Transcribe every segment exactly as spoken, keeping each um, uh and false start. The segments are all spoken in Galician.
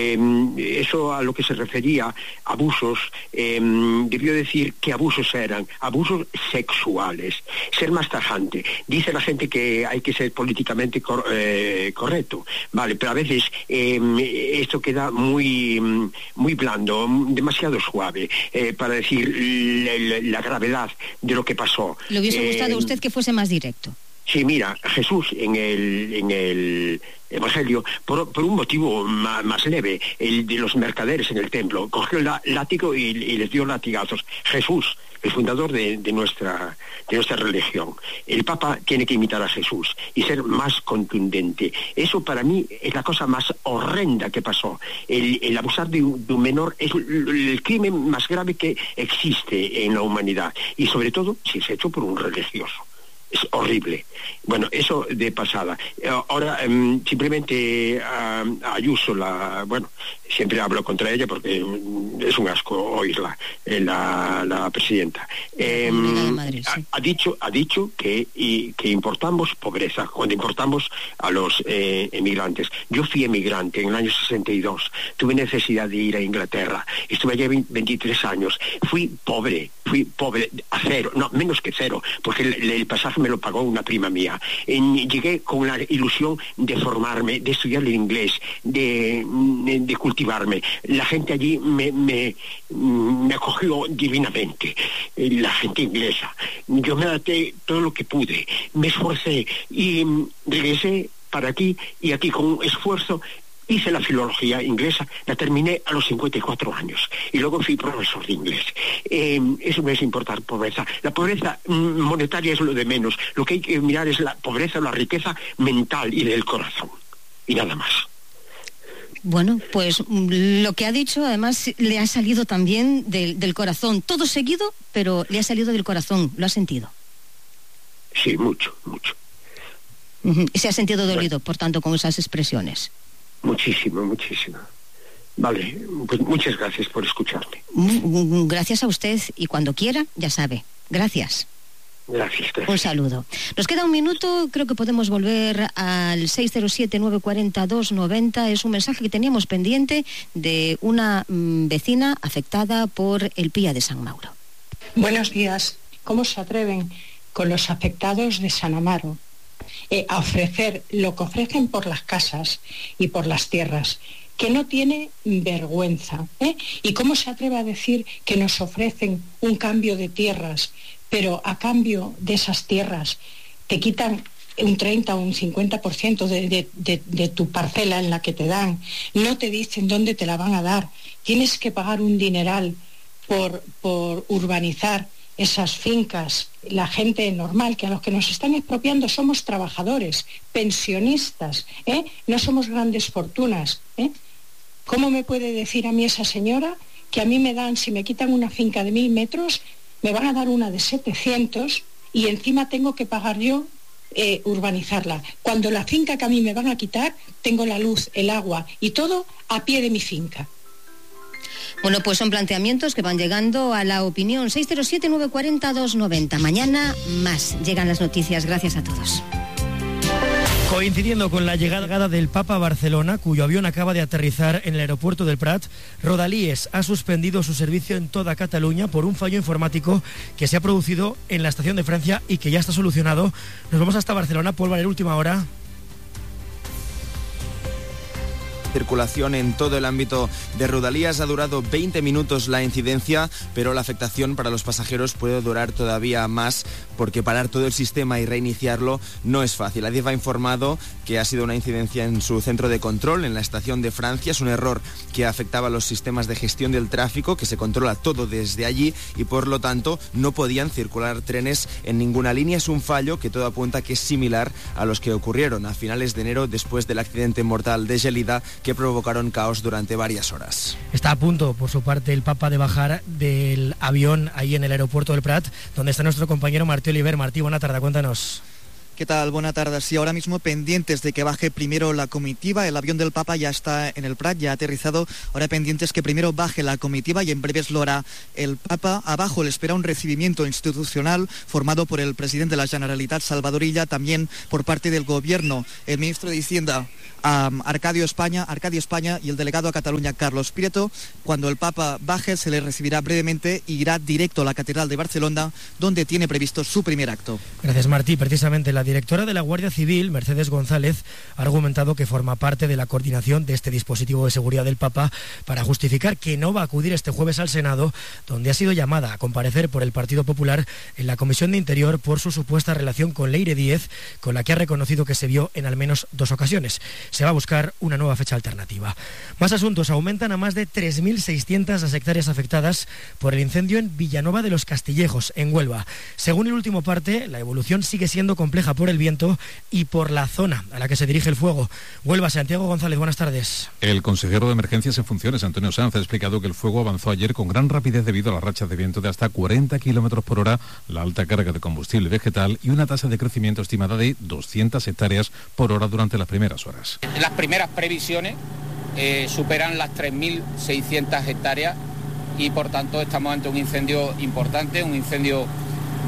Eh, eso a lo que se refería, abusos, eh, debió decir qué abusos eran, abusos sexuales, ser más tajante. Dice la gente que hay que ser políticamente cor, eh, correcto, vale, pero a veces eh, esto queda muy, muy blando, demasiado suave, eh, para decir la, la, la gravedad de lo que pasó. ¿Le hubiese eh, gustado a usted que fuese más directo? Sí, mira, Jesús en el, en el Evangelio, por, por un motivo más, más leve, el de los mercaderes en el templo, cogió el látigo y, y les dio latigazos. Jesús, el fundador de, de, nuestra, de nuestra religión. El Papa tiene que imitar a Jesús y ser más contundente. Eso para mí es la cosa más horrenda que pasó. El, el abusar de un, de un menor es el, el crimen más grave que existe en la humanidad. Y sobre todo si es hecho por un religioso. Es horrible. Bueno, eso de pasada. Ahora, um, simplemente uh, Ayuso, la, bueno, siempre hablo contra ella porque es un asco oírla, eh, la, la presidenta. Eh, Madrid, sí. ha, ha dicho, ha dicho que, y, que importamos pobreza cuando importamos a los eh, emigrantes. Yo fui emigrante en el año sesenta y dos, tuve necesidad de ir a Inglaterra, estuve allí veintitrés años, fui pobre, fui pobre a cero, no, menos que cero, porque el, el pasaje me lo pagó una prima mía. En, llegué con la ilusión de formarme, de estudiar el inglés, de, de, de cultivarme. La gente allí me, me, me acogió divinamente, la gente inglesa. Yo me adapté todo lo que pude, me esforcé y regresé para aquí, y aquí con esfuerzo hice la filología inglesa, la terminé a los cincuenta y cuatro años y luego fui profesor de inglés. Eh, eso no es importar pobreza. La pobreza monetaria es lo de menos. Lo que hay que mirar es la pobreza, la riqueza mental y del corazón. Y nada más. Bueno, pues lo que ha dicho además le ha salido también del, del corazón. Todo seguido, pero le ha salido del corazón. ¿Lo ha sentido? Sí, mucho, mucho. Uh-huh. Y se ha sentido dolido, bueno, por tanto, con esas expresiones. Muchísimo, muchísimo. Vale, pues muchas gracias por escucharme. Gracias a usted y cuando quiera, ya sabe. Gracias. Gracias, gracias. Un saludo. Nos queda un minuto, creo que podemos volver al seis cero siete, nueve cuatro cero, dos nueve cero. Es un mensaje que teníamos pendiente de una mmm, vecina afectada por el Pía de San Mauro. Buenos días. ¿Cómo se atreven con los afectados de San Amaro Eh, a ofrecer lo que ofrecen por las casas y por las tierras, que no tiene vergüenza? ¿eh? ¿Y cómo se atreve a decir que nos ofrecen un cambio de tierras, pero a cambio de esas tierras te quitan un treinta o un cincuenta por ciento de, de, de, de tu parcela en la que te dan? No te dicen dónde te la van a dar. Tienes que pagar un dineral por, por urbanizar esas fincas. La gente normal, que a los que nos están expropiando somos trabajadores, pensionistas, ¿eh? No somos grandes fortunas, ¿eh? ¿Cómo me puede decir a mí esa señora que a mí me dan, si me quitan una finca de mil metros, me van a dar una de setecientos y encima tengo que pagar yo eh, urbanizarla? Cuando la finca que a mí me van a quitar, tengo la luz, el agua y todo a pie de mi finca. Bueno, pues son planteamientos que van llegando a la opinión. seis cero siete, nueve cuatro cero, dos nueve cero. Mañana más llegan las noticias. Gracias a todos. Coincidiendo con la llegada del Papa a Barcelona, cuyo avión acaba de aterrizar en el aeropuerto del Prat, Rodalies ha suspendido su servicio en toda Cataluña por un fallo informático que se ha producido en la estación de Francia y que ya está solucionado. Nos vamos hasta Barcelona. Paul Valer, última hora. Circulación en todo el ámbito de Rodalías. Ha durado veinte minutos la incidencia, pero la afectación para los pasajeros puede durar todavía más, porque parar todo el sistema y reiniciarlo no es fácil. Adif ha informado que ha sido una incidencia en su centro de control en la estación de Francia. Es un error que afectaba a los sistemas de gestión del tráfico, que se controla todo desde allí y por lo tanto no podían circular trenes en ninguna línea. Es un fallo que todo apunta que es similar a los que ocurrieron a finales de enero después del accidente mortal de Gelida, que provocaron caos durante varias horas. Está a punto, por su parte, el Papa de bajar del avión ahí en el aeropuerto del Prat, donde está nuestro compañero Martí Oliver. Martí, buena tarde, cuéntanos. ¿Qué tal? Buena tarde. Sí, ahora mismo pendientes de que baje primero la comitiva. El avión del Papa ya está en el Prat, ya ha aterrizado. Ahora pendientes que primero baje la comitiva y en breves lo hará el Papa. Abajo le espera un recibimiento institucional formado por el presidente de la Generalitat, Salvador Illa, también por parte del Gobierno, el ministro de Hacienda, um, Arcadio España, Arcadio España y el delegado a Cataluña, Carlos Prieto. Cuando el Papa baje se le recibirá brevemente y irá directo a la Catedral de Barcelona, donde tiene previsto su primer acto. Gracias, Martí. Precisamente la directora de la Guardia Civil, Mercedes González, ha argumentado que forma parte de la coordinación de este dispositivo de seguridad del Papa para justificar que no va a acudir este jueves al Senado, donde ha sido llamada a comparecer por el Partido Popular en la Comisión de Interior por su supuesta relación con Leire Díez, con la que ha reconocido que se vio en al menos dos ocasiones. Se va a buscar una nueva fecha alternativa. Más asuntos. Aumentan a más de tres mil seiscientas las hectáreas afectadas por el incendio en Villanova de los Castillejos, en Huelva. Según el último parte, la evolución sigue siendo compleja por el viento y por la zona a la que se dirige el fuego. Huelva, Santiago González, buenas tardes. El consejero de Emergencias en funciones, Antonio Sanz, ha explicado que el fuego avanzó ayer con gran rapidez debido a las rachas de viento de hasta cuarenta kilómetros por hora, la alta carga de combustible vegetal y una tasa de crecimiento estimada de doscientas hectáreas por hora durante las primeras horas. Las primeras previsiones eh, superan las tres mil seiscientas hectáreas y por tanto estamos ante un incendio importante, un incendio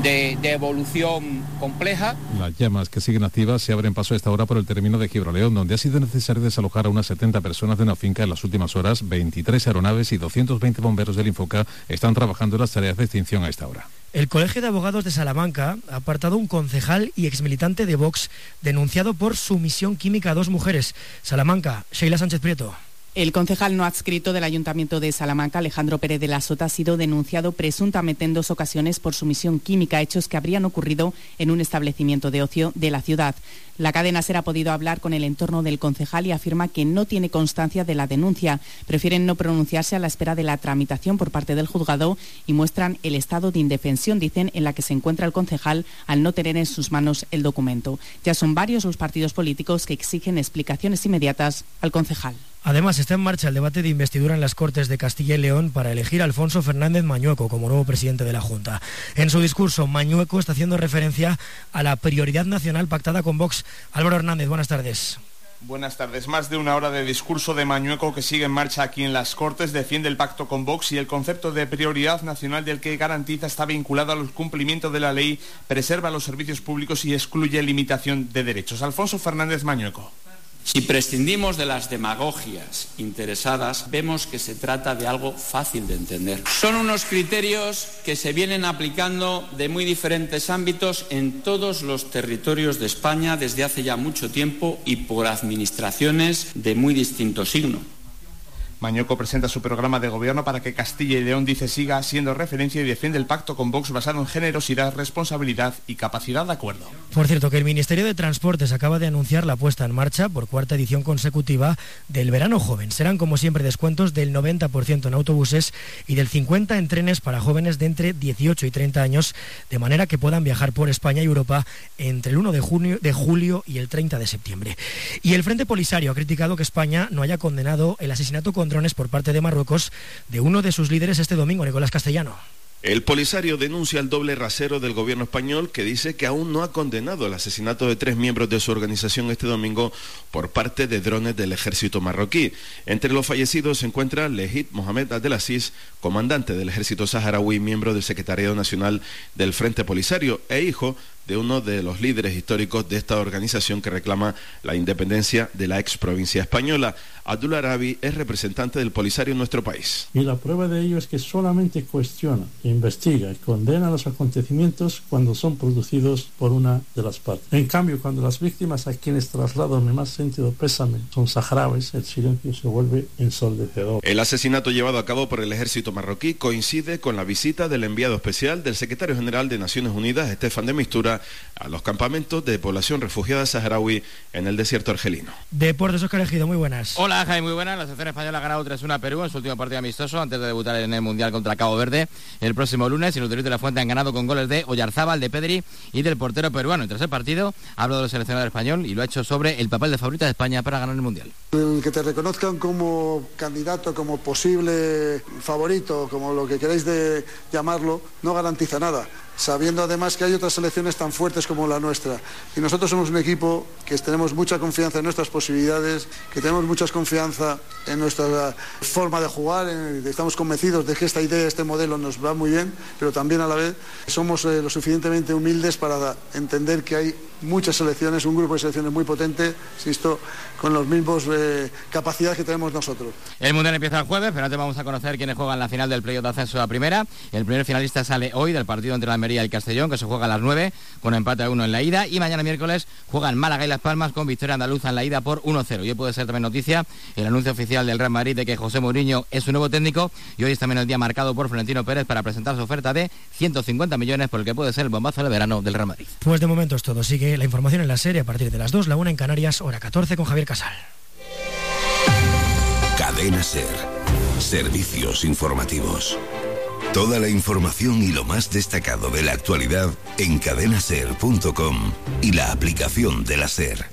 De, de evolución compleja. Las llamas que siguen activas se abren paso a esta hora por el término de Gibraleón, donde ha sido necesario desalojar a unas setenta personas de una finca en las últimas horas. veintitrés aeronaves y doscientos veinte bomberos del Infoca están trabajando en las tareas de extinción a esta hora. El Colegio de Abogados de Salamanca ha apartado un concejal y exmilitante de Vox denunciado por sumisión química a dos mujeres. Salamanca, Sheila Sánchez Prieto. El concejal no adscrito del Ayuntamiento de Salamanca, Alejandro Pérez de la Sota, ha sido denunciado presuntamente en dos ocasiones por sumisión química, hechos que habrían ocurrido en un establecimiento de ocio de la ciudad. La cadena SER ha podido hablar con el entorno del concejal y afirma que no tiene constancia de la denuncia. Prefieren no pronunciarse a la espera de la tramitación por parte del juzgado y muestran el estado de indefensión, dicen, en la que se encuentra el concejal al no tener en sus manos el documento. Ya son varios los partidos políticos que exigen explicaciones inmediatas al concejal. Además, está en marcha el debate de investidura en las Cortes de Castilla y León para elegir a Alfonso Fernández Mañueco como nuevo presidente de la Junta. En su discurso, Mañueco está haciendo referencia a la prioridad nacional pactada con Vox. Álvaro Hernández, buenas tardes. Buenas tardes. Más de una hora de discurso de Mañueco que sigue en marcha aquí en las Cortes, defiende el pacto con Vox y el concepto de prioridad nacional del que garantiza está vinculado al cumplimiento de la ley, preserva los servicios públicos y excluye limitación de derechos. Alfonso Fernández Mañueco. Si prescindimos de las demagogias interesadas, vemos que se trata de algo fácil de entender. Son unos criterios que se vienen aplicando de muy diferentes ámbitos en todos los territorios de España desde hace ya mucho tiempo y por administraciones de muy distinto signo. Mañueco presenta su programa de gobierno para que Castilla y León, dice, siga siendo referencia y defiende el pacto con Vox basado en generosidad, responsabilidad y capacidad de acuerdo. Por cierto, que el Ministerio de Transportes acaba de anunciar la puesta en marcha por cuarta edición consecutiva del Verano Joven. Serán, como siempre, descuentos del noventa por ciento en autobuses y del cincuenta por ciento en trenes para jóvenes de entre dieciocho y treinta años, de manera que puedan viajar por España y Europa entre el uno de junio, de julio y el treinta de septiembre. Y el Frente Polisario ha criticado que España no haya condenado el asesinato con drones por parte de Marruecos de uno de sus líderes este domingo, Nicolás Castellano. El Polisario denuncia el doble rasero del gobierno español, que dice que aún no ha condenado el asesinato de tres miembros de su organización este domingo por parte de drones del ejército marroquí. Entre los fallecidos se encuentra Lehit Mohamed Abdelaziz, comandante del ejército saharaui, miembro del Secretariado Nacional del Frente Polisario e hijo de uno de los líderes históricos de esta organización que reclama la independencia de la ex provincia española. Abdul Arabi es representante del Polisario en nuestro país. Y la prueba de ello es que solamente cuestiona, investiga y condena los acontecimientos cuando son producidos por una de las partes. En cambio, cuando las víctimas a quienes traslado mi más sentido pésame son saharauis, el silencio se vuelve ensordecedor. El asesinato llevado a cabo por el ejército marroquí coincide con la visita del enviado especial del secretario general de Naciones Unidas, Estefan de Mistura, a los campamentos de población refugiada saharaui en el desierto argelino. Deportes, Óscar Ejido, muy buenas. Hola, Jaime, muy buenas. La selección española ha ganado tres uno a Perú en su último partido amistoso antes de debutar en el Mundial contra Cabo Verde el próximo lunes. Y los de la Fuente han ganado con goles de Oyarzábal, de Pedri y del portero peruano. En tras el partido ha hablado del seleccionador español y lo ha hecho sobre el papel de favorita de España para ganar el Mundial. El que te reconozcan como candidato, como posible favorito, como lo que queréis de llamarlo, no garantiza nada. sabiendo además que hay otras selecciones tan fuertes como la nuestra. Y nosotros somos un equipo que tenemos mucha confianza en nuestras posibilidades, que tenemos mucha confianza en nuestra forma de jugar, en, estamos convencidos de que esta idea, este modelo nos va muy bien, pero también a la vez somos eh, lo suficientemente humildes para entender que hay muchas selecciones, un grupo de selecciones muy potente, insisto, con los mismos eh, capacidades que tenemos nosotros. El Mundial empieza el jueves, pero antes vamos a conocer quiénes juegan la final del playoff de ascenso a primera. El primer finalista sale hoy del partido entre la Almería y el Castellón, que se juega a las nueve, con empate a uno en la ida, y mañana miércoles juegan Málaga y Las Palmas con victoria andaluza en la ida por uno cero. Y hoy puede ser también noticia el anuncio oficial del Real Madrid de que José Mourinho es su nuevo técnico, y hoy es también el día marcado por Florentino Pérez para presentar su oferta de ciento cincuenta millones por el que puede ser el bombazo de verano del Real Madrid. Pues de momento es todo. Sigue la información en la serie a partir de las dos, la una en Canarias, hora catorce, con Javier Casal. Cadena SER. Servicios informativos. Toda la información y lo más destacado de la actualidad en cadena ser punto com y la aplicación de la SER.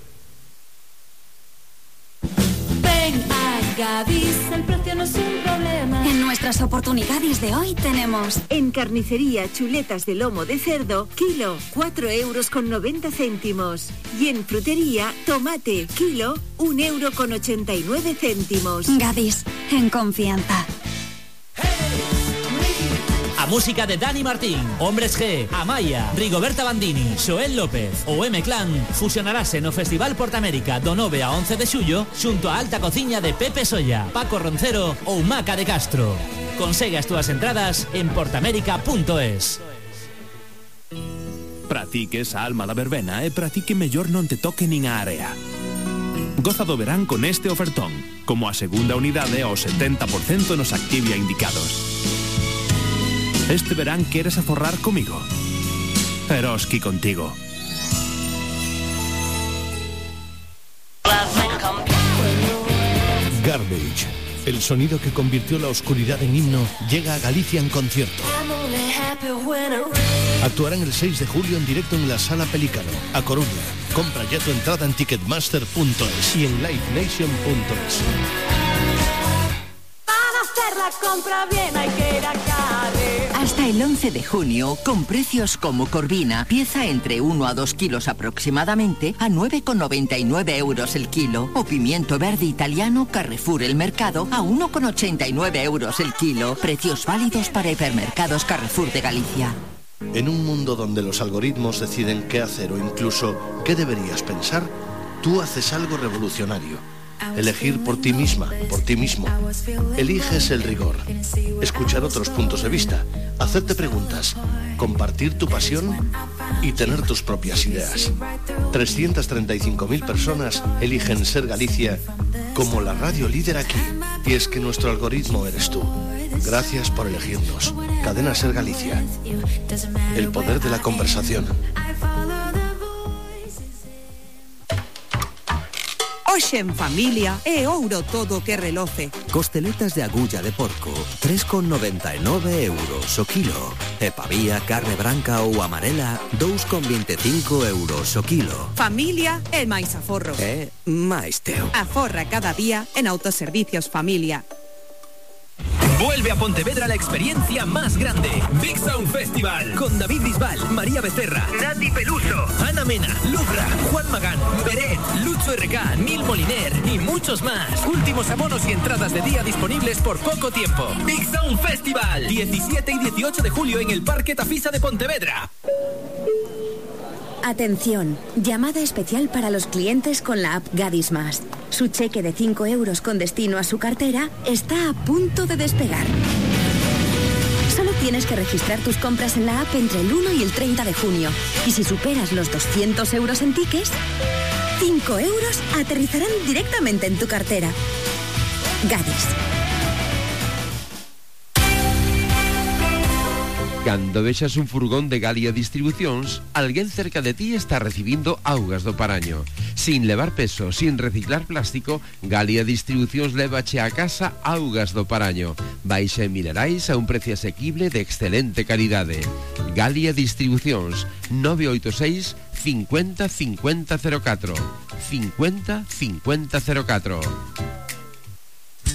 Ven a Gadis, el precio no es un problema. En nuestras oportunidades de hoy tenemos en carnicería chuletas de lomo de cerdo, kilo, cuatro euros con noventa céntimos. Y en frutería, tomate, kilo, un euro con ochenta y nueve céntimos. Gadis, en confianza. A música de Dani Martín, Hombres G, Amaya, Rigoberta Bandini, Xoel López ou M-Clan fusionarase no Festival Portamérica do nove a once de xullo xunto a alta cociña de Pepe Solla, Paco Roncero ou Maca de Castro. Consegue as túas entradas en portamérica punto es. Pratique esa alma da verbena e pratique mellor non te toque nin a area. Goza do verán con este ofertón, como a segunda unidade ao setenta por cento nos Activia indicados. Este verán queres aforrar comigo. Eroski contigo. Garbage, el sonido que convirtió la oscuridad en himno, llega a Galicia en concierto. Actuarán el seis de julio en directo en la Sala Pelícano, a Coruña. Compra ya tu entrada en ticketmaster punto es y en live nation punto es. La compra bien hay que ir a Carre. Hasta el once de junio, con precios como Corvina, pieza entre uno a dos kilos aproximadamente, a nueve con noventa y nueve euros el kilo. O pimiento verde italiano Carrefour El Mercado, a uno con ochenta y nueve euros el kilo. Precios válidos para hipermercados Carrefour de Galicia. En un mundo donde los algoritmos deciden qué hacer o incluso qué deberías pensar, tú haces algo revolucionario. Elegir por ti misma, por ti mismo. Eliges el rigor. Escuchar otros puntos de vista. Hacerte preguntas. Compartir tu pasión y tener tus propias ideas. trescientas treinta y cinco mil personas eligen Ser Galicia como la radio líder aquí. Y es que nuestro algoritmo eres tú. Gracias por elegirnos. Cadena Ser Galicia. El poder de la conversación. Hoxe en familia é ouro todo que reloce. Costeletas de agulla de porco, tres con noventa e nove euros o kilo. E pavía, carne branca ou amarela, dous con vinte e cinco euros o kilo. Familia é máis aforro. É máis teu. Aforra cada día en Autoservicios Familia. Vuelve a Pontevedra la experiencia más grande. Big Sound Festival. Con David Bisbal, María Becerra, Nati Peluso, Ana Mena, Lubra, Juan Magán, Beret, Lucho R K, Neil Moliner y muchos más. Últimos abonos y entradas de día disponibles por poco tiempo. Big Sound Festival. diecisiete y dieciocho de julio en el Parque Tafisa de Pontevedra. Atención, llamada especial para los clientes con la app Gadis Más. Su cheque de cinco euros con destino a su cartera está a punto de despegar. Solo tienes que registrar tus compras en la app entre el uno y el treinta de junio. Y si superas los doscientos euros en tickets, cinco euros aterrizarán directamente en tu cartera. Gadis. Cando vexas un furgón de Galia Distribucións, alguén cerca de ti está recibindo augas do Paraño. Sin levar peso, sin reciclar plástico, Galia Distribucións levache a casa augas do Paraño. Baixa en minerais a un precio asequible de excelente calidade. Galia Distribucións, nove oito seis, cincuenta, cincuenta, cero catro. cincuenta, cincuenta, cero catro.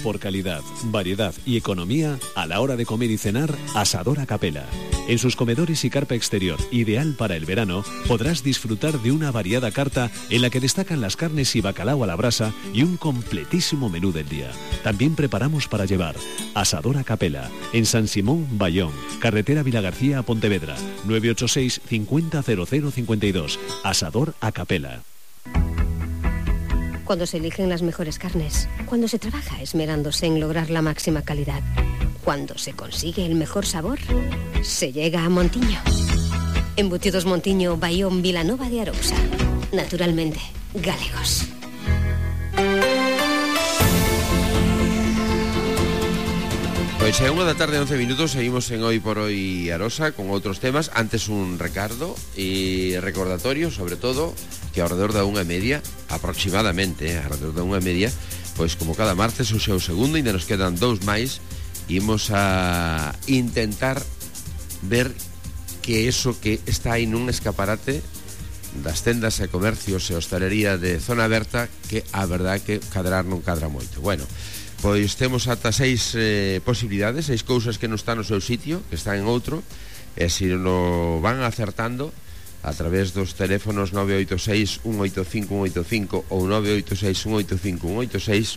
por calidad, variedad y economía a la hora de comer y cenar, Asador A Capela. En sus comedores y carpa exterior, ideal para el verano, podrás disfrutar de una variada carta en la que destacan las carnes y bacalao a la brasa y un completísimo menú del día. También preparamos para llevar. Asador A Capela, en San Simón, Bayón, carretera Vilagarcía a Pontevedra, nueve ocho seis cincuenta cero cero cincuenta y dos. Asador A Capela. Cuando se eligen las mejores carnes, cuando se trabaja esmerándose en lograr la máxima calidad, cuando se consigue el mejor sabor, se llega a Montiño. Embutidos Montiño, Bayón, Vilanova de Arousa. Naturalmente, galegos. Pois é unha da tarde, once minutos. Seguimos en Hoy por Hoy Arosa con outros temas. Antes un recardo e recordatorio, sobre todo, que ao redor da unha e media, aproximadamente, eh, ao redor da unha e media, pois como cada martes, o seu segundo, ainda nos quedan dous máis, imos a intentar ver que eso que está aí nun escaparate das tendas e comercios e hostalería de zona aberta, que a verdade que cadrar non cadra moito. Bueno, pois temos ata seis eh, posibilidades, seis cousas que non están no seu sitio, que están en outro, e se non van acertando a través dos teléfonos nove oito seis un oito cinco un oito cinco ou nove oito seis un oito cinco un oito seis,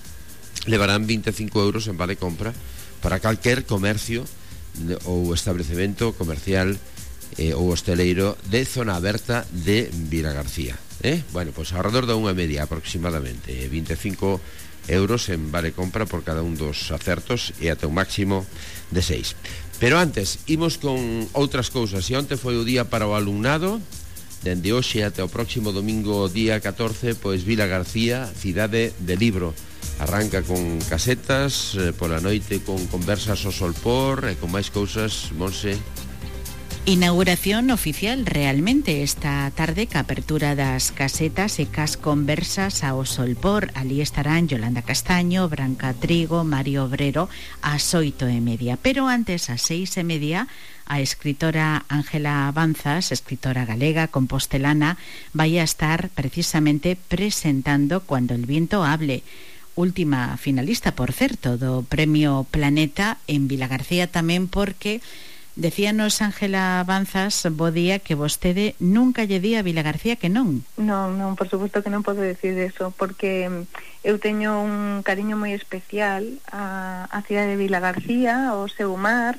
levarán veinticinco euros en vale compra para calquer comercio ou establecemento comercial eh, ou hosteleiro de zona aberta de Vilagarcía. Eh? Bueno, pois alrededor da unha e media aproximadamente, veinticinco euros en vale compra por cada un dos acertos e ata un máximo de seis. Pero antes, imos con outras cousas. E onte foi o día para o alumnado. Dende hoxe até o próximo domingo día catorce, pois Vilagarcía, cidade de libro. Arranca con casetas, eh, pola noite con conversas ao solpor e con máis cousas, Monse. Inauguración oficial realmente esta tarde ca apertura das casetas e cas conversas ao solpor. Ali estarán Yolanda Castaño, Branca Trigo, Mario Obrero ás oito e media. Pero antes, ás seis e media, a escritora Ángela Banzas, escritora galega compostelana, vai a estar precisamente presentando Cuando el viento hable. Última finalista, por certo, do Premio Planeta en Vilagarcía tamén, porque decíanos Ángela Banzas, bo día, que vostede nunca lle di a Vilagarcía que non. Non, non, por suposto que non podo decir eso, porque eu teño un cariño moi especial a, a cidade de Vilagarcía, ao seu mar,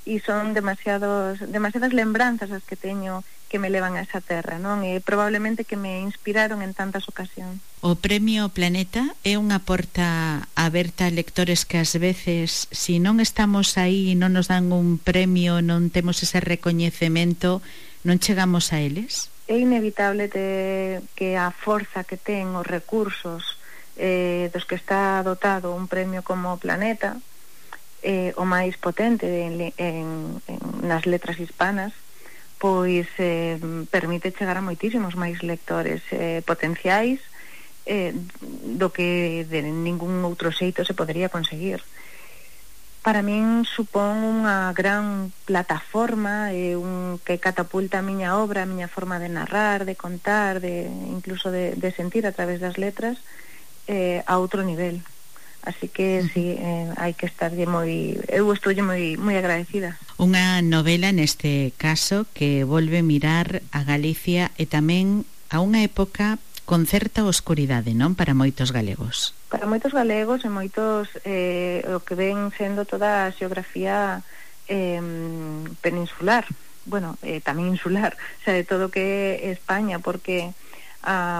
e son demasiados, demasiadas lembranzas as que teño que me levan a esa terra, non? E probablemente que me inspiraron en tantas ocasións. O Premio Planeta é unha porta aberta a lectores que ás veces, se non estamos aí e non nos dan un premio, non temos ese recoñecemento, non chegamos a eles? É inevitable de, que a forza que ten os recursos eh, dos que está dotado un premio como Planeta, eh, o máis potente en, en, en, nas letras hispanas, pois eh, permite chegar a moitísimos máis lectores eh, potenciais eh, do que de ningún outro xeito se podería conseguir. Para min supón unha gran plataforma eh, un, que catapulta a miña obra, a miña forma de narrar, de contar, de incluso de, de sentir a través das letras eh, a outro nivel. Así que sí, eh, hai que estar moi, eu estou moi moi agradecida. Unha novela neste caso que volve mirar a Galicia e tamén a unha época con certa oscuridade, non, para moitos galegos. Para moitos galegos e moitos eh, o que ven sendo toda a xeografía eh, peninsular, bueno, eh, tamén insular, o sea, de todo o que é España, porque a,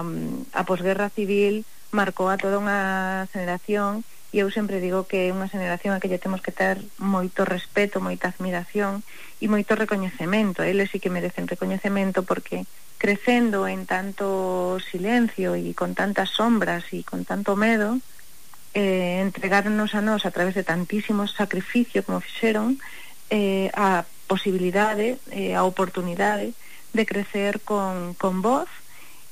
a posguerra civil marcou a toda unha generación. E eu sempre digo que é unha xeración a que lle temos que ter moito respeto, moita admiración e moito recoñecemento. Eles sí que merecen recoñecemento porque crecendo en tanto silencio e con tantas sombras e con tanto medo, eh, entregarnos a nós a través de tantísimos sacrificios como fixeron, eh, a posibilidade, eh, a oportunidade de crecer con, con voz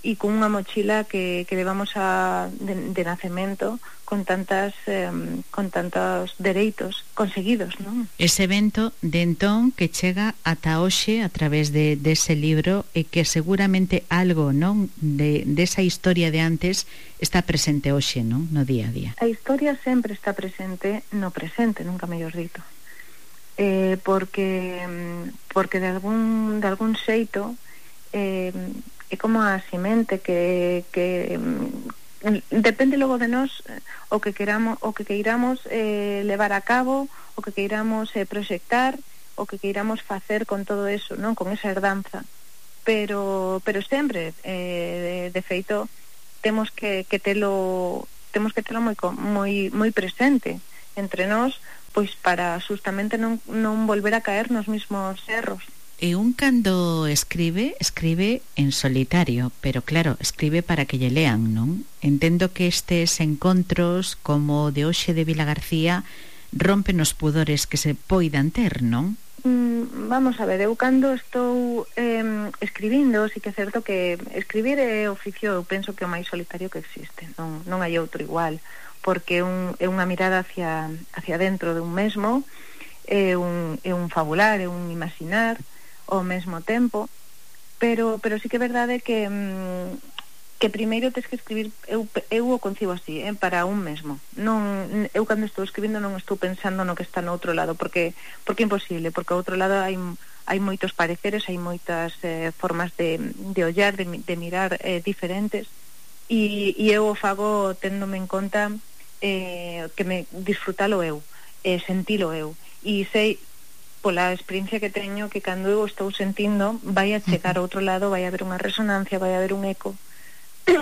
e con unha mochila que, que levamos a, de, de nacemento con tantas eh, con tantos dereitos conseguidos, non? Ese evento de entón que chega ata hoxe a través de dese de libro e que seguramente algo, non, de desa de historia de antes está presente hoxe, non, no día a día. A historia sempre está presente no presente, nunca mellor dito. Eh, porque porque de algún de algún xeito eh, é como a semente que, que depende logo de nós o que queramos, o que queiramos eh, levar a cabo, o que queiramos eh, proxectar, o que queiramos facer con todo eso, non, con esa herdanza. Pero pero sempre eh, de, de feito temos que, que telo temos que telo moi moi moi presente entre nós, pois para justamente non non volver a caer nos mismos erros. E un cando escribe, escribe en solitario, pero claro, escribe para que lle lean, non? Entendo que estes encontros como de hoxe de Vilagarcía rompen os pudores que se poidan ter, non? Mm, vamos a ver, eu cando estou eh, escribindo, sí que é certo que escribir é oficio, eu penso que é o máis solitario que existe, non, non hai outro igual, porque un, é unha mirada hacia, hacia dentro de un mesmo, é un, é un fabular, é un imaginar ao mesmo tempo, pero pero sí que é verdade que mm, que primeiro tens que escribir, eu, eu o concibo así, eh, para un mesmo. Non, eu cando estou escribindo non estou pensando no que está no outro lado, porque porque é imposible, porque ao outro lado hai hai moitos pareceres, hai moitas eh, formas de, de ollar, de, de mirar eh, diferentes, e, e eu o fago téndome en conta eh, que me disfrutalo eu, eh, sentilo eu, e sei pola experiencia que teño que cando eu estou sentindo vai a chegar ao outro lado, vai a haber unha resonancia, vai a haber un eco,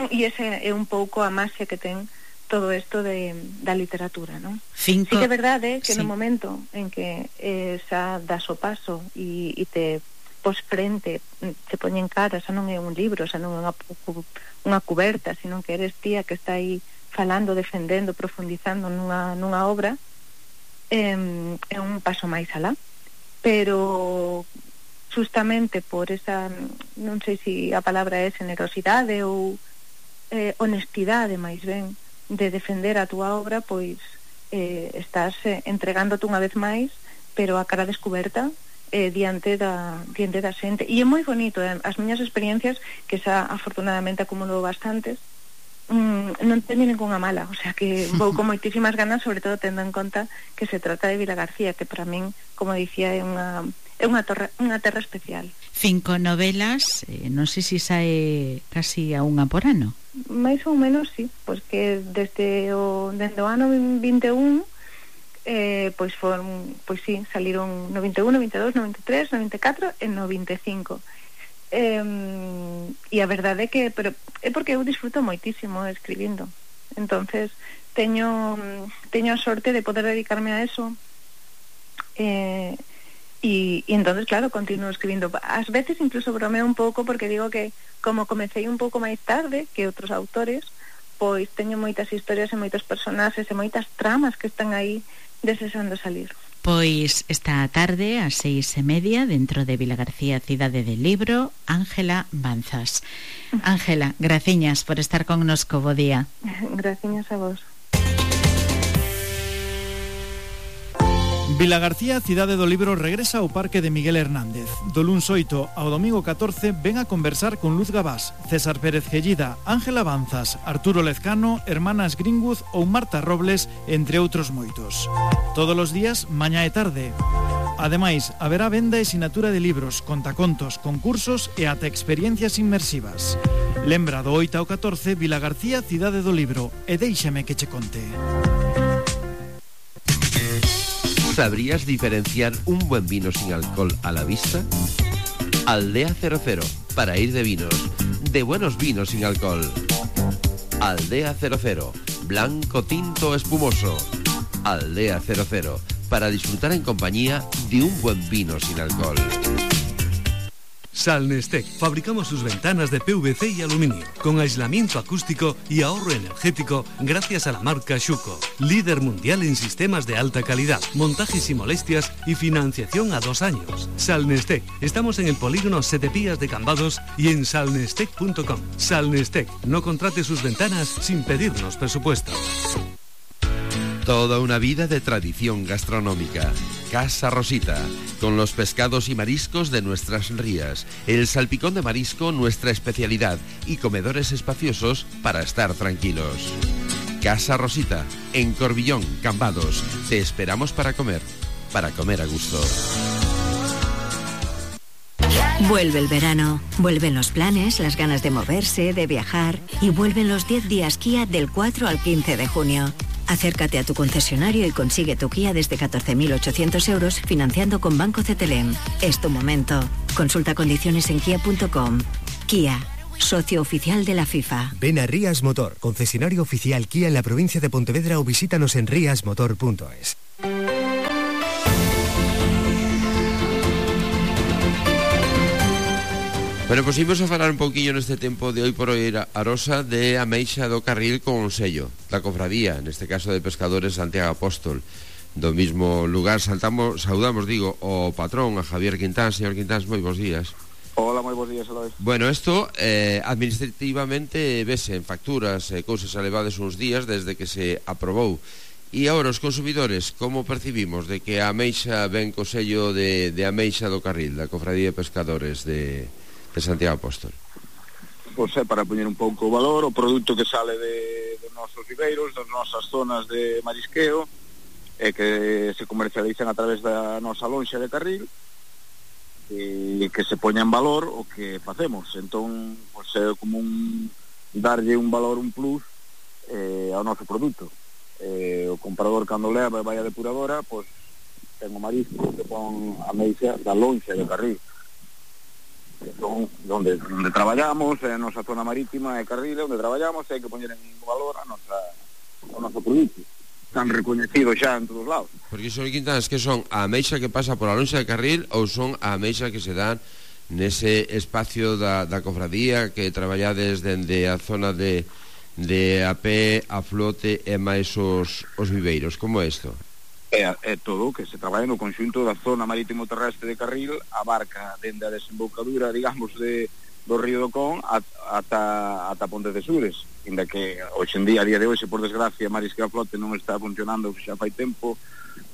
e ese é un pouco a máxia que ten todo isto de, da literatura, non? Cinco... Sí que é verdade que sí. no momento en que eh, xa das o paso e, e te pos frente, te poñen cara, xa non é un libro, xa non é unha, unha cuberta, sino que eres tía que está aí falando, defendendo, profundizando nunha, nunha obra, eh, é un paso máis alá. Pero justamente por esa, non sei se a palabra é generosidade ou eh, honestidade máis ben de defender a túa obra, pois eh, estás eh, entregándote unha vez máis, pero a cara descoberta eh, diante da diante da xente, e é moi bonito, eh? As miñas experiencias, que xa afortunadamente acumulo bastantes, mm, non teño ninguna mala, o sea que vou con moitísimas ganas, sobre todo tendo en conta que se trata de Vilagarcía, que para min, como dicía, é unha é unha terra, unha terra especial. Cinco novelas, eh, non sei se sae casi a unha por ano. Mais ou menos, sí, pois que desde o, desde o ano vinte e un eh, pois foron, pois sí, saliron no vinte e un, no vinte e dos, no vinte e tres, no vinte e catro e no vinte e cinco. Eh, e a verdade é que pero é porque eu disfruto moitísimo escribindo, entonces teño teño a sorte de poder dedicarme a eso, eh, e, e entonces claro, continuo escribindo. Ás veces incluso bromeo un pouco porque digo que como comecei un pouco máis tarde que outros autores, pois teño moitas historias e moitos personaxes e moitas tramas que están aí desexando salir. Pois esta tarde ás seis e media dentro de Vilagarcía, Cidade del Libro, Ángela Banzas. Ángela, graciñas por estar connosco, bo día. Graciñas a vos. Vilagarcía, Cidade do Libro, regresa ao Parque de Miguel Hernández. Do luns oito ao domingo catorce ven a conversar con Luz Gabás, César Pérez Gellida, Ángela Banzas, Arturo Lezcano, Hermanas Greenwood ou Marta Robles, entre outros moitos. Todos os días, mañá e tarde. Ademais, haberá venda e sinatura de libros, contacontos, concursos e ata experiencias inmersivas. Lembra do oito ao catorce, Vilagarcía, Cidade do Libro, e déixame que che conte. ¿Sabrías diferenciar un buen vino sin alcohol a la vista? Aldea cero cero, para ir de vinos, de buenos vinos sin alcohol. Aldea cero cero, blanco, tinto, espumoso. Aldea cero cero, para disfrutar en compañía de un buen vino sin alcohol. Salnestec. Fabricamos sus ventanas de P V C y aluminio, con aislamiento acústico y ahorro energético gracias a la marca Schuco. Líder mundial en sistemas de alta calidad, montajes y molestias y financiación a dos años. Salnestec. Estamos en el polígono Sete Pías de Cambados y en salnestec punto com. Salnestec. No contrate sus ventanas sin pedirnos presupuesto. Toda una vida de tradición gastronómica. Casa Rosita, con los pescados y mariscos de nuestras rías, el salpicón de marisco nuestra especialidad y comedores espaciosos para estar tranquilos. Casa Rosita, en Corbillón, Cambados. Te esperamos para comer, para comer a gusto. Vuelve el verano, vuelven los planes, las ganas de moverse, de viajar y vuelven los diez días Kia del cuatro al quince de junio. Acércate a tu concesionario y consigue tu Kia desde catorce mil ochocientos euros financiando con Banco C T L M. Es tu momento. Consulta condiciones en kia punto com. Kia, socio oficial de la FIFA. Ven a Rías Motor, concesionario oficial Kia en la provincia de Pontevedra o visítanos en rías motor punto es. Bueno, pues imos a falar un pouquillo neste tempo de hoy por hoy Arosa de Ameixa do Carril con sello da cofradía, neste caso de Pescadores Santiago Apóstol. Do mismo lugar saltamos, saudamos, digo, o patrón, a Javier Quintán. Señor Quintán, moi bons días. Hola, moi bons días, Eloy. Bueno, isto eh, administrativamente vese en facturas e eh, cousas elevades uns días desde que se aprobou. E agora os consumidores, como percibimos de que a Ameixa ven co sello de, de Ameixa do Carril, da cofradía de Pescadores de... de Santiago Apóstol? Pois é para poñer un pouco o valor o produto que sale de, de nosos viveiros, das nosas zonas de marisqueo e que se comercializan a través da nosa lonxa de Carril e que se poña en valor o que facemos. Entón, pois é como un darlle un valor, un plus eh, ao noso produto. Eh, o comprador cando leva e vai a depuradora, pois ten o marisco que pon a meixa da lonxa de Carril. Son onde, onde traballamos, é a nosa zona marítima e Carril, onde traballamos, e hai que poñer en valor a nosa, o noso produto, tan recoñecido xa en todos lados. Porque, señor Quintán, que son a ameixa que pasa por a lonxa de Carril ou son a ameixa que se dan nese espacio da, da cofradía que traballades dende a zona de, de a pé, a flote e máis os, os viveiros? Como é isto? É, é todo o que se traballa no conxunto da zona marítimo terrestre de Carril, abarca dende a desembocadura, digamos, de, do río do Con ata, ata Ponte de Sures, inda que hoxe en día, a día de hoxe, por desgracia, Marisqueo a Flote non está funcionando xa fai tempo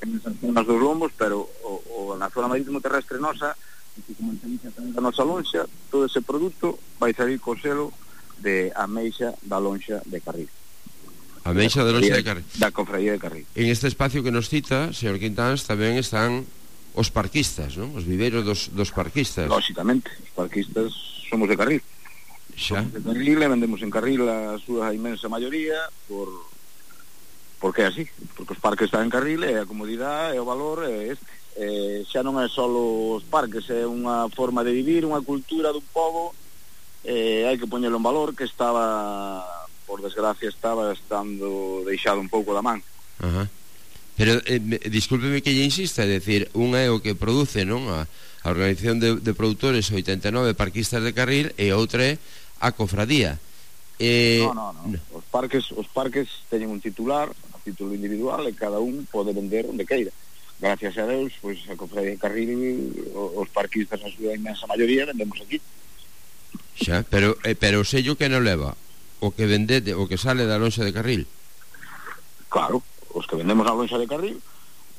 en esas zonas dos lombos, pero o, o, na zona marítimo terrestre nosa, que comercializa tamén da nosa lonxa, todo ese produto vai salir co selo de Ameixa da lonxa de Carril. A Ameixa da lonxa de Carril. Da cofradía de Carril. En este espacio que nos cita, señor Quintán, tamén están os parquistas, non? Os viveiros dos, dos parquistas. Lóxicamente, os parquistas somos de Carril. Xa. Somos de Carril e vendemos en Carril a súa inmensa maioría por porque é así, porque os parques están en Carril e a comodidade e o valor é este. Eh, xa non é só os parques, é unha forma de vivir, unha cultura dun pobo, eh, hai que poñelo en valor, que estaba... por desgracia estaba estando deixado un pouco da man. Ajá. Pero, eh, discúlpeme que lle insista, é dicir, un é o que produce, non? A, a Organización de, de Produtores oitenta e nove Parquistas de Carril e outra é a cofradía. Eh... No, no, no. Os parques, os parques teñen un titular, a título individual, e cada un pode vender onde queira. Gracias a Deus, pois a cofradía de Carril, os parquistas na súa inmensa maioría vendemos aquí. Xa, pero, eh, pero o sello que non leva? O que vendete, o que sale da lonxa de Carril? Claro, os que vendemos na lonxa de Carril,